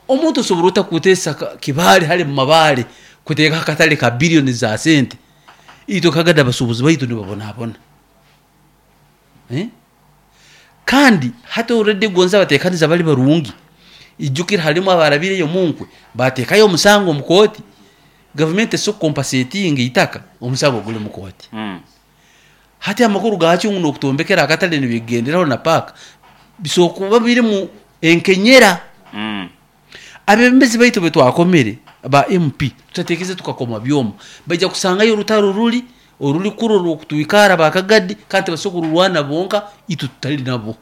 Omuntu osobora ota kuteesa kibale hali mu mabaale kuteeka akatale ka biliyoni za sente? Itwe Kagadi abasuubuzi baitu nibabonabona. Kandi hati already gonza batekaniza bali barungi, ijukira halimu abarabireyo munkwe batekayo omusango omu kooti, gavumenti eso compensating itaka, omusango guli mu kooti. Hati amakuru gakyo ngu nokutombekera akatale nibigenderaho na paaka bisobola kuba birimu enkenyera. Abebembezi baitu betwakomere ba MP tutatekeze tukakoma byoma, baija kusangayo orutaro ruli oruli kuro rwokutwikara bakagadi, kandi tibasobola kururwana bonka itwe tutali nabo.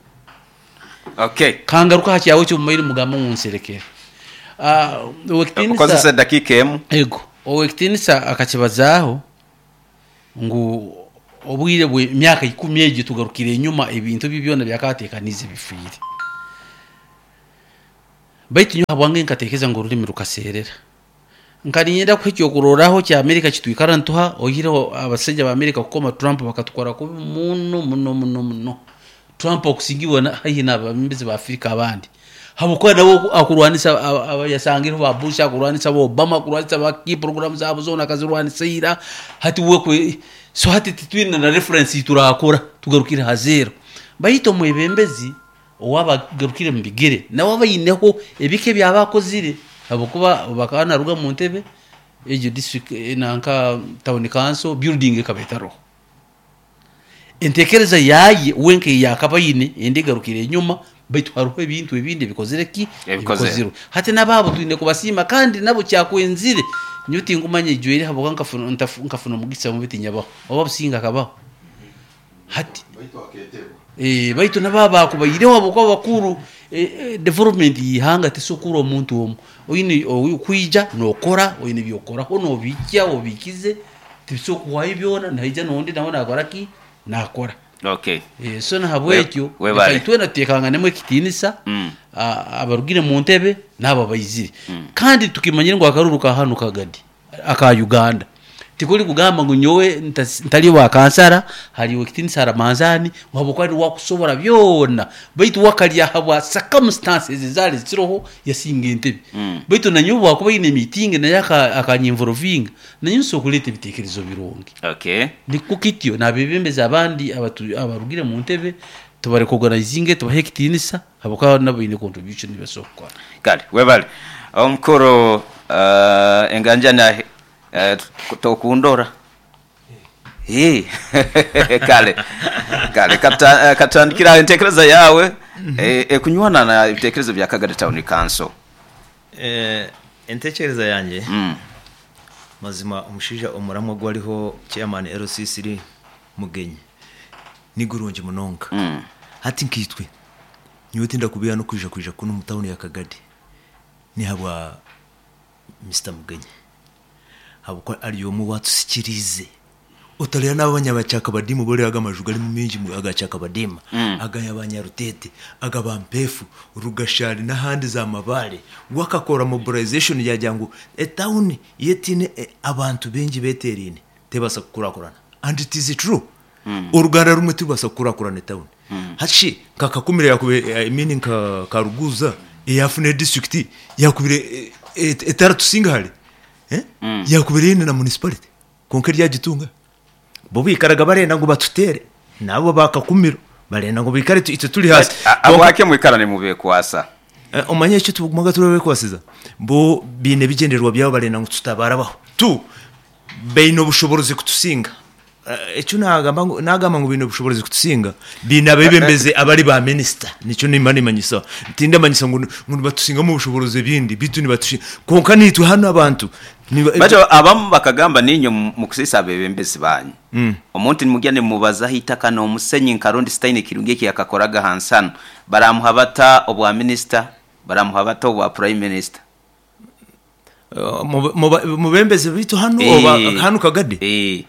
Okay.
Kangaruka ha kyawe ekyomumaire mugamba ngu nserekere.
Okozesa dakika emu.
Ego, owekitinisa akakibazaaho ngu obwire bwe myaka 10 egyo tugarukire enyuma, ebintu bye byona byakatekanize bifiire. Baitu nyowe habwange nkatekereza ngu orulimi rukaseerera. Nkaninyenda kuha ekyokurorraho kya Amerika kitwikara nituha, oihireho abasaija ba Amerika kukoma Trump bakatukora kubi muno muno muno muno. Trump okusingibwa haihi n'abebembezi ba Afrika abandi, habwokuba nawe akurwanisa abayasangireho ba Bush, akurwanisa ba Obama, akurwanisa ba key program zabo zoona akazirwanisa ira. Hati we kwe, so hati titwine na reference turakora, tugarukire ha zero. Baitu omwebembezi owabagarukire mu bigere nawe abaineho ebike byabakozire, habwokuba bakaba naruga mu ntebe egyo district nanka town council building ekaba etaroho. Entekereza yaye wenka eyakabaine endi egarukire enyuma, baitu hariho ebintu ebindi ebikozire ki?
Ebikozirwe.
Hati nababo twine kubasiima, kandi nabo kyakwenzire nyowe tingumanya ijwere habwokuba nkafuna omugisa mubi tinyabaho, oba businga akabaho. Hati baitu nabo bakubaireho habwokuba bakuru, development y'ihanga tesokura omuntu omu. Oine okwija nokora, oine ebyokukoraho nobijja obikize, tibisobola kuhwayo byona, naija n'ondi nawe nakora ki? Nakora.
Okay.
So nahabwekyo
Webale.
leka itwena tutekanganemu ekitinisa, abarugire mu ntebe n'abo abaizire. Kandi tukimanyire ngu akaruru ka hanu Kagadi aka Uganda tikuli kugamba ngu nyowe ntali wa kansara, hali ekitinisa Ramanzani habwokuba ni wakusobora byona, baitu wakalya habwa circumstances ezali ziroho yasinga entebe. Baitu nanyowe bwakuba ine meeting naye akanyinvolvinga, nanyowe nsobola kuleta ebitekerezo birungi.
Okay.
Nikwo kityo n'abebembezi abandi abarugire mu ntebe tubarecognizinge, tubahe ekitinisa habwokuba nabo baine contribution basobola kukora.
Kale webale omukuru enganja na tokundora. Kale kale katandikira entekereza yawe ekunywana na ebitekerezo bya Kagadi Town Council.
Entekereza yange mazima omushaija omuramwa gwariho chairman LCC Mugenyi ni gurungi munonga. Hati nkaitwe nyowe tindakubeera n'okwija kwija kunu omu tawuni ya Kagadi ni habwa Mr Mugenyi, habwokuba ari omwe watusikiriize. Otareba n'abanyabacakabadiima obu oreeba aga amaju garimu mingi aga Chakabadiima, aga Banyarutete, aga Bampeefu, Rugashari n'ahandi za Mabare. We akakora mobilization yagira ngu etawuni yetiine abantu baingi beteeraine tebaasa kukurakurana. And it is true. Oruganda rumwe tirubaasa kukurakurana etawuni. Hati shi nka Kakumiro yakubire, I mean nka Karuguuza eyafuna edistrict yakubire etaratusinga hare, yakubire eine na municipality kwonka eryagitunga. Bo baikaraga barenda ngu batuteere, nabo ba Kakumiro barenda ngu baikare itwe turi haasi.
Habwaki mwikara nimubekwasa?
Omanye eki tugumaga turabekwasiza, bo baine ebigyendererwa byabo barenda ngu tutabarabaho. Tu baine obushoborozi kutusinga. Ekyo nagamba ngu nagamba ngu baine obushoborozi kutusinga, baine abebembezi abari ba minisita, nikyo nimba nimanyisa. Tindamanyisa ngu nibatusingamu obushoborozi ebindi, beitu nibatusinga. Kwonka naitwe hanu abantu
Baitu abamu bakagamba niinywe mukusiisa abebembezi banyu. Omuntu nimugya nimumubazaho itaka n'omusenyi nka rundi sitaine ekirungi eki yakakoraga hansi hanu, baramuha bata obwa minisita, baramuha bata obwa prime minister?
Mubembezi baitu hanu oba hanu Kagadi?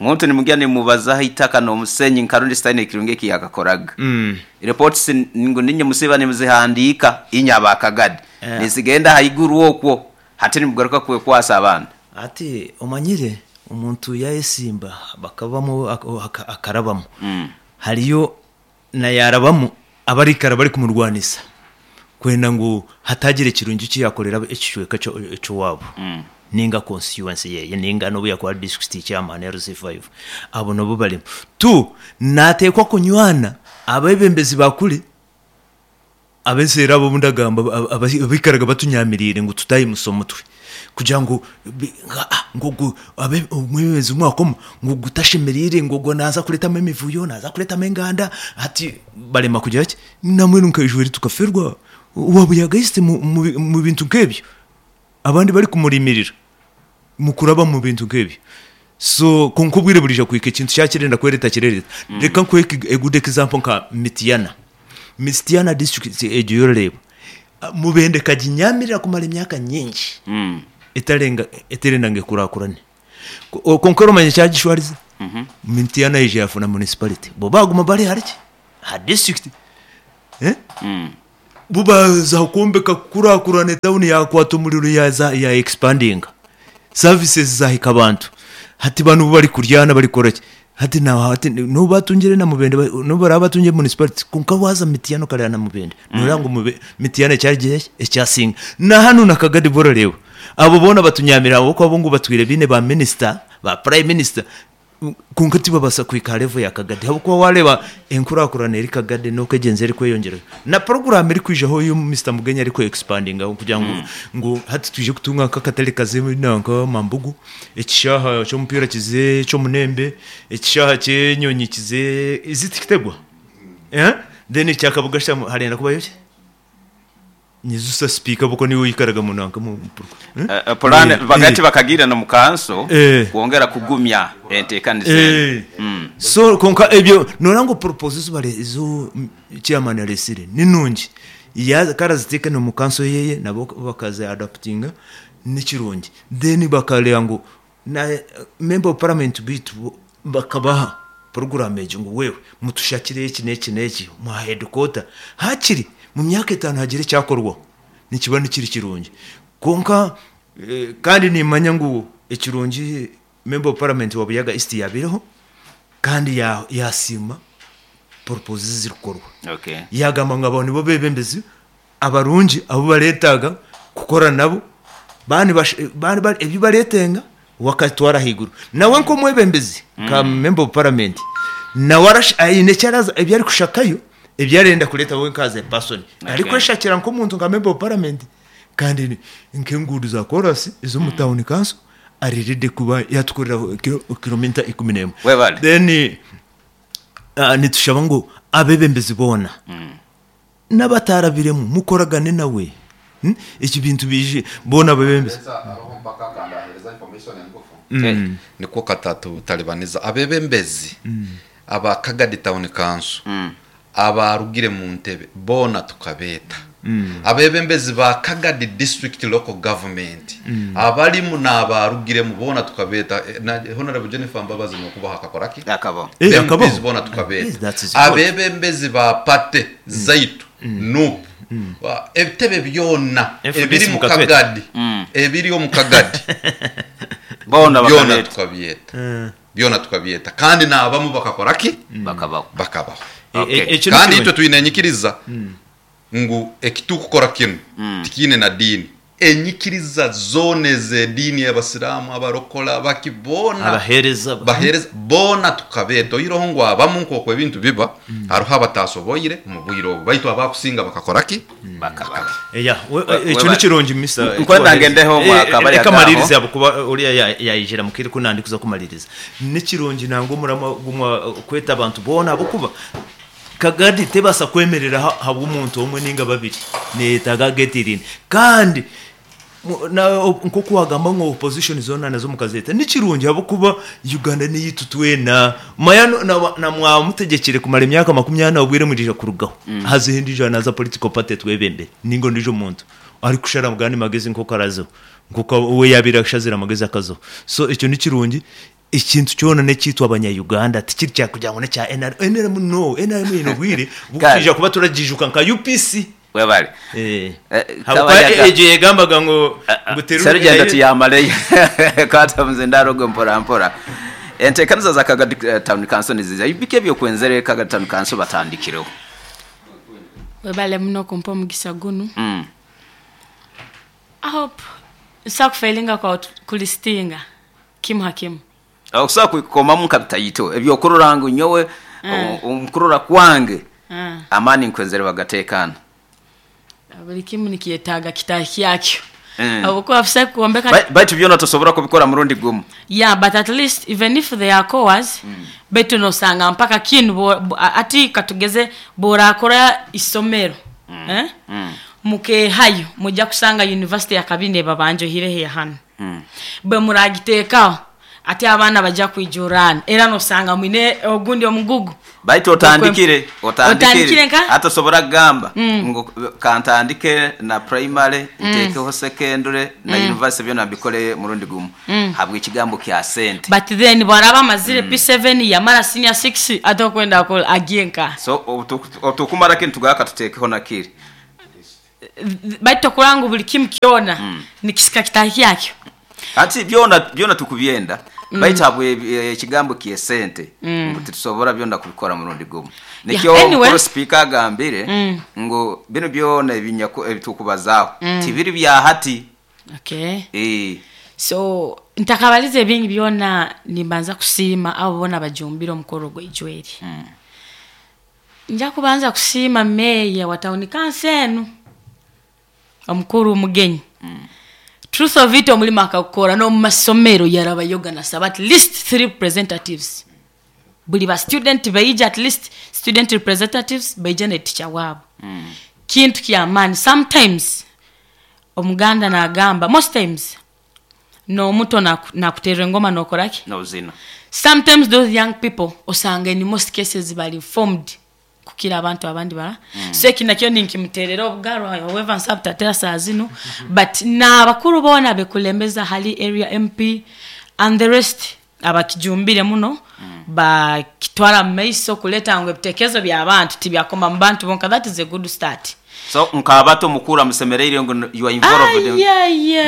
Omuntu nimugya nimumubazaho itaka n'omusenyi nka rundi sitaine ekirungi eki yakakoraga. Reports ngu niinywe musiiba nimuzihandiika inywe aba Kagadi, nizigenda haiguru okwo. Hati nimugaruka kwekwasa abandi.
Hati omanyire omuntu yayesimba bakabamu akarabamu, hariyo na yarabamu abarikara barikumurwanisa kwenda ngu hatagira ekirungi eki yakorera ekicweka ky'owaabo. Ninga constituency yeye ninga nobu yakuba district chairman LC5, abo nabo balimu. Tu nateekwa kunywana abebembezi bakuli abeseera abo ndagamba abikaraga batunyamirire ngu tutayimusa omutwe kugira ngu ngu omwebembezi mwakoma ngu gutashemerire, ngu ogwo naza kuretamu emivuyo, naza kuretamu enganda, hati barema kugira ki namwe nkaijweri tukaferwa wabuyagaiste mu bintu nk'ebyo, abandi bari kumurimirira mukuraba mu bintu nk'ebyo. So kunkubwire burija kwika ekintu kyakirenda kwereta kirereta. Reka nkuhe a good example nka Mityana district egyo yororeba Mubende kaginyamirira kumara emyaka nyingi etarenga eterenda ngekurakurane. Konkero manye kyagishwariza Mityana ije yafuna municipality, bo baguma bari hariki ha district, bubaza kumbeka kurakurane, town yakwata umuriro, yaza ya expanding services zahika abantu. Hati banu bari kuryana bari koraki, hati na hati no batungire na Mubende, no barabatunge municipality. Kunka waza Mityana karya na Mubende, nurango Mityana cyagiye ecyasinga na hano na Kagadi bororewe. Abo bona batunyamira abo ko abungu batwire bine ba minister ba prime minister, kunka tibabasa kwika level ya Kagadi, habo kuba wareba enkurakurana eri Kagadi no kegenze eri kweyongera na program eri kwijaho yo Mr Mugenya ari ko expanding aho kugira ngo ngo hati tuje kutunga kakatale kazimu nanka Mambugu, ekishaha cy'umupira kize cyo munembe, ekishaha cyenyonyi kize izitikitegwa, then icyakabuga harenda kuba yoke nyizusa speaker buko niwe yikaraga mu nanka mu
Plan bagati bakagira no mukanso kwongera kugumya entekanise.
So konka ebyo norango proposals bare izo chairman aresire ninungi ya karaziteka no mukanso yeye nabo bakaza adaptinga nikirungi, then bakalea ngo na member of parliament bitu bakabaha program ejo ngo wewe mutushakire iki n'iki n'iki mu headquarter hakiri mu myaka 5 hagire cyakorwa nikiba nikiri kirungi. Konka kandi nimanya ngo ekirungi member of parliament wa Buyaga East yabireho kandi yasima proposals zirikorwa. Yagamba ngo abantu bo bebembezi abarungi abo baretaga kukora nabo bani bani ebyo baretenga wakatwara higuru nawe nko mwebembezi ka member of parliament nawe ayine cyaraza ebyo ari kushakayo ebyarenda kuleta wowe nkaze person ariko shakira nko muntu nka member of parliament kandi nkengudu za chorus izo mu town council ariride kuba yatukorera kilomita 11. Then nitushaba ngo abebembezi bona n'abatarabiremo mukoragane nawe iki bintu bije bona abebembezi
niko katatu talibaniza abebembezi aba Kagadi town council abarugire mu ntebe bona tukabeta abebembezi ba Kagadi district local government abalimu n'abarugire mu bona tukabeta. Na honorable Jennifer Mbabazi no kubaha akakoraki
akabo
akabo bona tukabeta abebembezi ba pate zaitu nup ebitebe byona ebiri mu Kagadi ebiri mu Kagadi
bona
bakabeta tukabiyeta byona tukabiyeta kandi n'abamu bakakoraki bakabaho. Kandi itwe tuinenyikiriza ngu ekitukukora kino tikine na dini enyikiriza zone ze dini y'abasilamu abarokola bakibona
abahereza
bona tukabeto iroho ngo abamu nko ebintu biba haruha batasoboyire mu bwiro baitu abakusinga bakakora ki
bakabaka.
Eya ekyo nikirongi Mr
nkwenda ngendeho mwakabari
akamaliriza abo kuba uriya yayijira mukiri kunandi kuza kumaliriza nikirongi nango murama gumwa kweta abantu bona abo kuba Kagadi tebasa kwemerera habwo umuntu omwe ninga babiri netaga getirine kandi nko kuwagamba ngo opposition zona nazo mukazeta nikirungi abo kuba Uganda niyitutwena mayano na mwamutegekere kumara imyaka 20 obwire murija kurugaho hazindi jana za political party twebembe ningo ndijo muntu ari kushara mugani magezi nko karazo nkuko we yabira kushazira magezi akazo. So ekyo nikirungi ikintu cyona necyitwa abanya-Uganda tikiri cyakugira ngo cya NRM no NRM ino bwire bukija kuba turajijuka nka UPC
webale
habuka eje yegambaga ngo
nguterure serugendo tiyamale kata mzendaro gwe mpora mpora entekaniza za Kagadi town council niziza ibike byo kwenzere Kagadi town council batandikireho
webale muno kumpa omugisa guno. I hope Nsa kufailinga kwa kulistinga kimu hakimu.
Okusobola kwikomamu nka bitaito ebyokurora ngu nyowe omukurora kwange amaani nkwenzere bagateekana.
Buli kimu nikyetaaga kitahi kyakyo. Habwokuba busa kwombeka.
Baitu byona tosobora kubikora murundi gumu.
Yeah, but at least even if they are cores, baitu nosanga mpaka kinu ati katugeze borakora isomero, eh? Mukehayo mujja kusanga university ya kabine babanjohireho hano, bwe muragiteekaho ati abaana bajja kwijurana, era nosanga mwine ogundi omugugu.
Baitu otandikire.
Otandikire.
Otandikire.
Nka?
Hati osobora kugamba ngu kantandike na primary, ntekeho secondary na university, byona mbikole murundi gumu habw'ekigambo kya sente.
But then bwaraba amazire P7, yamara senior 6, ate okwenda akola agiye nka?
So otukumara kintu tugaka tutekeho nakiri.
Baitu okuranga ngu buli kimu kyona nikisika kitahi kyakyo.
Ati byona byona tukubyenda, baitu habwe ekigambo kyesente ngu titusobora byona kubikora murundi gumu. Nikyo
Yeah, anyway.
mukuru speaker agambire ngu bino byona ebitukubazaho tibiri bya hati.
Okay. So ntakabaliza ebingi byona, nimbanza kusiima abo bona bajumbire omukoro gw'eijweri. Nja kubanza kusiima meya wa town council enu, omukuru Mugenyi. Truth of it, omulimo akakukora n'omu masomero yarabayoga nasaba at least three representatives, buli ba student baija, at least student representatives baija ne teacher waabo. Kintu kyamaani. Sometimes omuganda nagamba, most times n'omuto nakuterera engoma nokoraki?
Nozina.
Sometimes those young people osanga in most cases bali informed kukira abantu abandi bara. So eki nakyo ninkimuterera obugaro, however nsaba tatera saa zino, but n'abakuru boona bekulembeza hali area MP and the rest abakijumbire muno, bakitwara mu maiso kuleta ngu ebitekerezo by'abantu tibyakoma mu bantu bonka. That is a good start.
So nkabato mukuru amusemereire ngu you are involved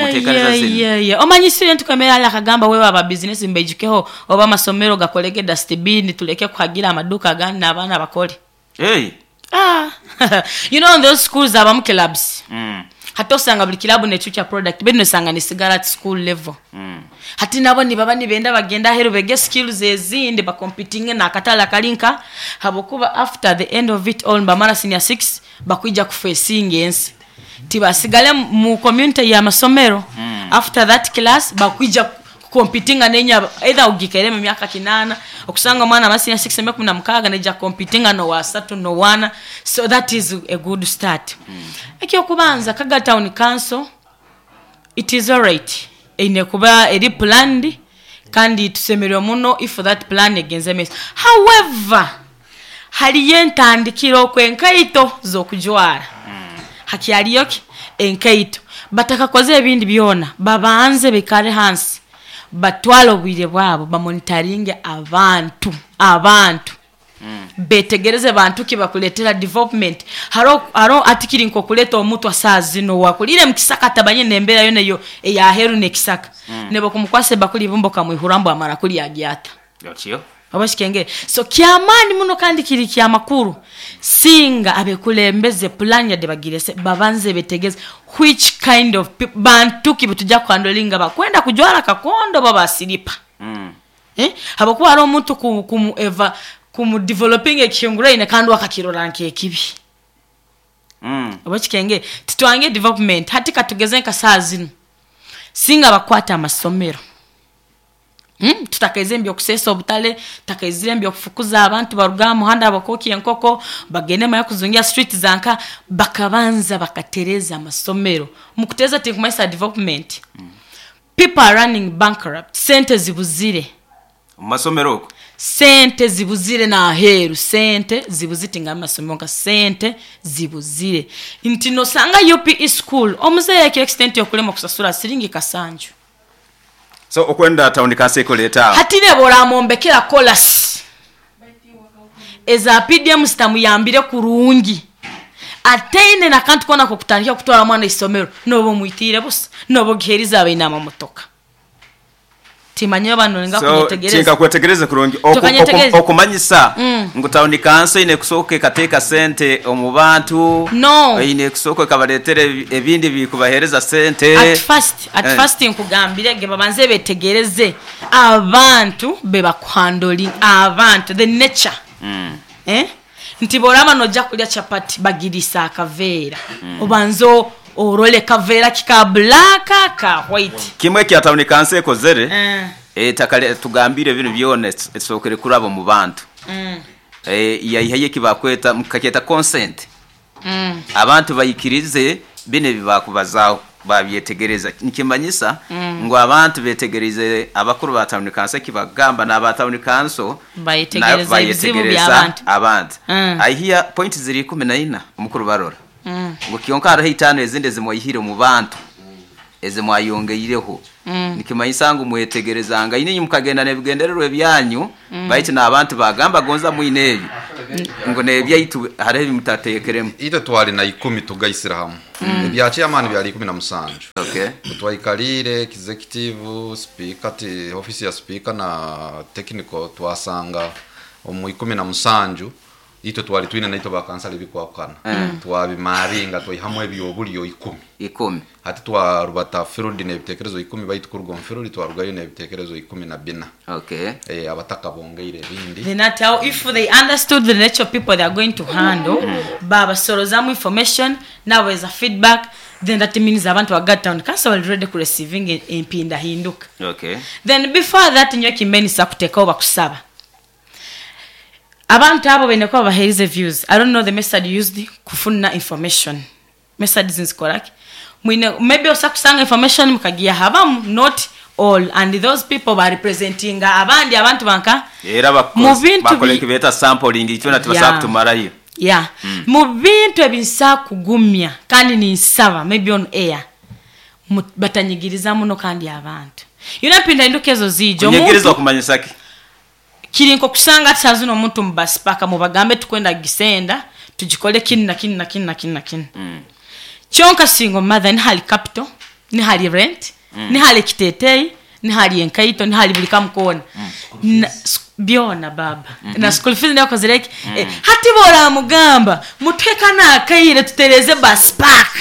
muteekaniza zino.
Yeah. Omanyi student kwemera ali akagamba wewe aba business mbeijukeho oba amasomero gakolege dustbin, tuleke kuhagira amaduka agandi n'abaana bakole.
Hey.
Ah. You know, in those schools abamu clubs. Hati osanga buli kilabu nekyukya product, bino osanga ni sigara at school level. Hati nabo nibaba nibenda bagenda aheru bege skills ezindi, bakompitinge n'akatale akalinka, habwokuba after the end of it all bamara senior 6 bakwija kufacinga ensi, tibasigale mu community y'amasomero. After that class bakwija competinga nenya either ugikere mu myaka 8, okusanga omwana ama senior 6 emyaka 16 neja competinga no wasatu no wana. So that is a good start. Ekyokubanza, Kaga Town Council, it is alright, eine kuba eri planned, kandi tusemererwa muno if that plan egenze maiso. However, haliyo entandikiro okwenkaito z'okujwara, hakyaliyo ki enkaito batakakoze ebindi byona. Babanze bikare hansi, batwale obwire bwabo, bamonitaringe abantu, betegereze bantu ki bakuletera development. Haro atikiri nkokuleta omutwa saa zino wakulire mukisaka, tabanye nembeera yo neyo eyaheru nekisaka, nebo kumukwase bakuli bumbo kamwihura mbu amara kuli agyata.
Otyo.
Oba kikengere. So kyamaani muno kandi kiri kyamakuru singa abekulembeze plan yadde bagirese, babanze betegeze which kind of bantu ki betujja kuhandolinga, bakwenda kujwara kakondo babasiripa. Eh? Habwokuba hariho omuntu kumu eva kumu developing ekihinguraine kandi wakakirora nkekibi. Oba kikenge titwange development. Hati katugeze nka saa zino singa bakwata amasomero, Tutakaize mbyo kusesa obutale, tutakaizire mbyo kufukuza abantu baruga muhanda bakoki enkoko bagende maya kuzungia street zanka, bakabanza bakatereza amasomero. Mukuteza tinkumaisa development. People are running bankrupt, sente zibuzire.
Mu masomero okwo.
Sente zibuzire n'aheeru, sente zibuzire nga amasomero nka sente zibuzire nti nosanga UPE school omuzeeyi ekyo extent yokulema okusasula siringi kasanju.
So okwenda town council ekuleeta awo.
Hati ne boramombekera kolasi eza PDM zitamuyambire kurungi, ateine nakantu kona kokutandika kutwara mwana isomero, noba omwitiire busa, noba ogiheriza abaine amamotoka. Timanya oba nolenga
So
kunyetegereza.
tinkakwetegereze kurungi.
Tokanyetegereza.
Okumanyisa ngu tawuni kanso eine kusooka ekateeka sente omu bantu.
No.
Eine kusooka ekabareetera ebindi bikubaheereza sente.
At first, at
Eh.
first nkugambire ge babanze betegereze abantu bebakuhandling, abantu the nature. Nti boraba nojja kulya chapati bagirisa akaveera. Obanze orole kaveera kika black ka white.
Kimwe kya tawuni kanso ekozere, ettaka tugambire bino byona esookere kuraba mu bantu. Yaihayo ekibakweta mukakyeta consent. Abantu bayikirize bino ebibakubazaaho babyetegereza. Nikimanyisa ngu abantu betegereze abakuru ba tawuni kanso ekibagamba n'aba tawuni kanso
Bayetegereza ebizibu
bayetegereza
by'abantu.
abantu. Aihiya point ziri 14 omukuru barora. Ngu kyonka hariho 5 ezindi ezimwaihire omu bantu ezimwayongeireho. Nikimanyisa ngu mwetegerezanga inye mukagenda n'ebigendererwa ebyanyu, baitu n'abantu bagamba gonza mwine ebi. Ngu n'ebyaitu hariho ebimutateekeremu.
Itwe twali na 10 tugaisira hamwe. Ebya chairman byali 17. Twaikalire executive speaker ti office ya speaker na technical twasanga omu 17 itwe twali twine naitwe bakansala ebikwakana. Twabimaringa twaihamu ebyobulyo 10.
10.
Hati twarubata field n'ebitekerezo 10 baitu kuruga omu field twarugayo n'ebitekerezo 14. Abataka bongeire ebindi.
Then at how if they understood the nature of people they are going to handle, babasorozamu information, now as a feedback, then that means abantu ba town council already receiving empinda hinduka. Then before that nyo kimeni sakutekaho bakusaba. Abantu abo bene ko babahereze views. I don't know the method used kufuna information. Method zinzikoraki. Mwine maybe osakusanga information mukagiya habamu, not all, and those people ba representing abandi abantu banka
era
Mu bintu
bakole kibeta sampling icyo natubasa kutumarayo.
Mu bintu ebinsa kugumya kandi ni nsaba maybe on air batanyigiriza muno kandi abantu. Yuna pinda indukezo zijo
Kunyigiriza
omuntu
kumanyisa ki?
Kiri nko kusanga tsazu no muntu mubasipaka mubagambe tukwenda gisenda tugikole kini na kini na kini na kini na kini. Kyonka single mother ni hali capital, ni hali rent, ni hali kitetei, ni hali enkaito, ni hali bulika mukona. Na, byona baba. Na school fees ndako zireki. Hati bora mugamba mutweka na akaire tutereze bus park.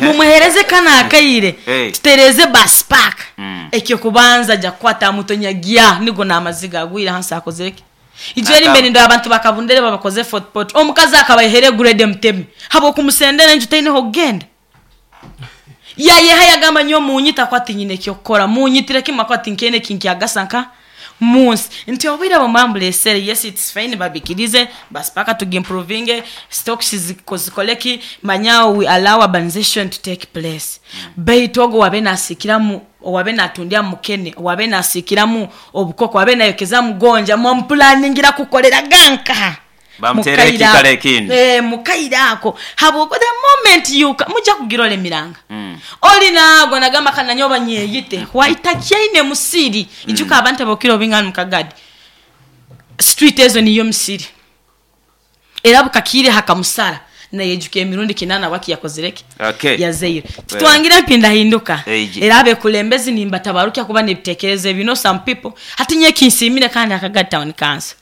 Mumuhereze kana akaire tutereze bus park. Ekyo kubanza ja kwata mutonyagia nigo na amaziga agwira hansi akozeke. Ijeri mbere ndo abantu bakabundere babakoze fort pot. Omukazi akabahere grade mtemi. Habo kumusendera nje taine ho genda. Ya ye hayagamba nyo munyita kwati nyine kyo kora munyitire kimwe kwati nkene kinki agasanka munsi. Nti obira bo mambule sere yes it's fine babikirize bas paka to improving stocks zikoleki manya we allow urbanization to take place. Beitogo wabe nasikiramu wabe natundia mukene wabe nasikiramu obukoko wabe nayokeza mugonja mu planningira kukolera ganka.
Bamutere kikale kindi.
Mukaira ako. Habo the moment you muja kugirole miranga. Oli nago nagamba kana nyoba nyeyite. Waitakiaine musiri. Ijuka abantu bokiro bingana mukagadi. Street ezo niyo musiri. Era bukakire hakamusara. Na yejuke emirundi kinana waki yakozereke. Yazeire. Tutwangira mpinda hinduka. Era abe kulembezi nimba tabarukia kuba nibitekereze bino some people. Hatinye kinsimire kandi akagadi town council.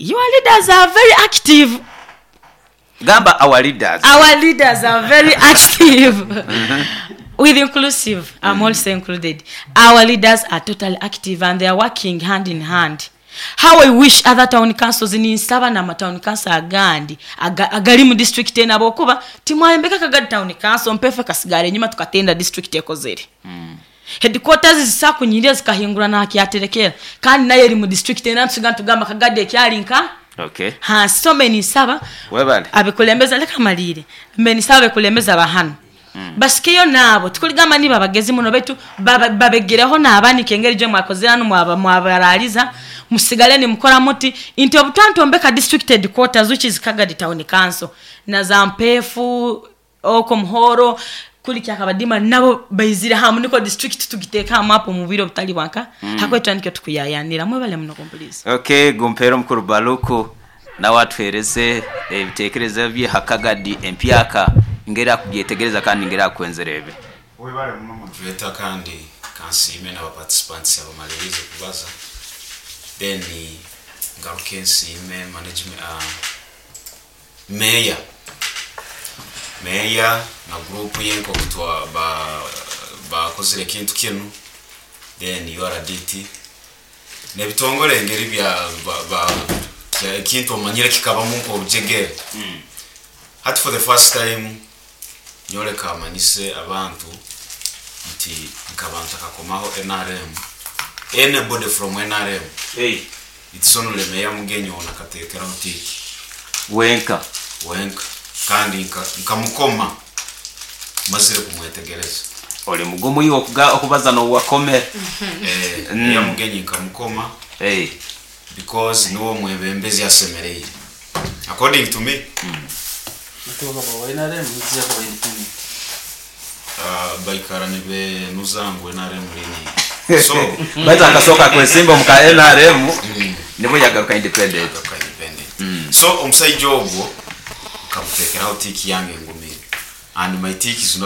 Your leaders are very active.
Gamba our leaders.
Our leaders are very active. With inclusive, I'm also included. Our leaders are totally active and they are working hand in hand. How I wish other town councils in Nsaba na town council agandi agali mu district ena bokuba timwayembeka kagadi town council mpefe kasigare nyuma tukatenda district ekozere. Headquarters zisakunyiria zikahingura na hakiaterekera kandi naye eri mu district ena tusiga tugamba kagadi ekyalinka. Ha so many saba
webale
abekulembeza leka malire many saba abekulembeza bahano. Basikeyo nabo tukuligamba ni babagezi muno betu babegereho nabani kengeri je mwakozera no mwabaraliza musigale ni mukora muti inti obutantu ombeka district headquarters which is Kagadi town council na zampefu oko muhoro kuli kyakabadima nabo baizira hamu niko district tugiteka mapo mu biro bitali wanka. Hakwetwa nikyo tukuyayanira mwebale muno kompulisi.
Gumpero mukuru Baluku na watwereze ebitekerezo bye Hakagadi empyaka ngera kubyetegereza kandi ngera kwenzerebe.
Webale muno mutuleta kandi Kansiime n'abaparticipants abamalirize kubaza, then ngaruke nsiime management, meya na group ye nk'okutwa bakozire ekintu kinu, then URDT n'ebitongole engeri bya ekintu omanyire kikabamu nk'obujegere. Hati for the first time nyoleka amanyise abantu nti nkabantu akakomaho NRM, anybody from NRM.
Hey.
It's only meya Mugenyi ono akateekeraho tick.
Wenka.
Wenka, kandi nkamukoma mazire kumwetegereza.
Oli mugumu iwe okubaza n'owakomera.
Meya Mugenyi nkamukoma.
Hey.
Because niwo mwebembezi asemereire according to me.
NRM nzija kuba independent.
Baikara nibenuza ngu NRM lini, so
Baitu akasooka kwesimba muka NRM, nibwo yagaruka independent.
Yagaruka independent. So omusaija ogwo nkamuteekeraho tick yange ngumire, and my tick is not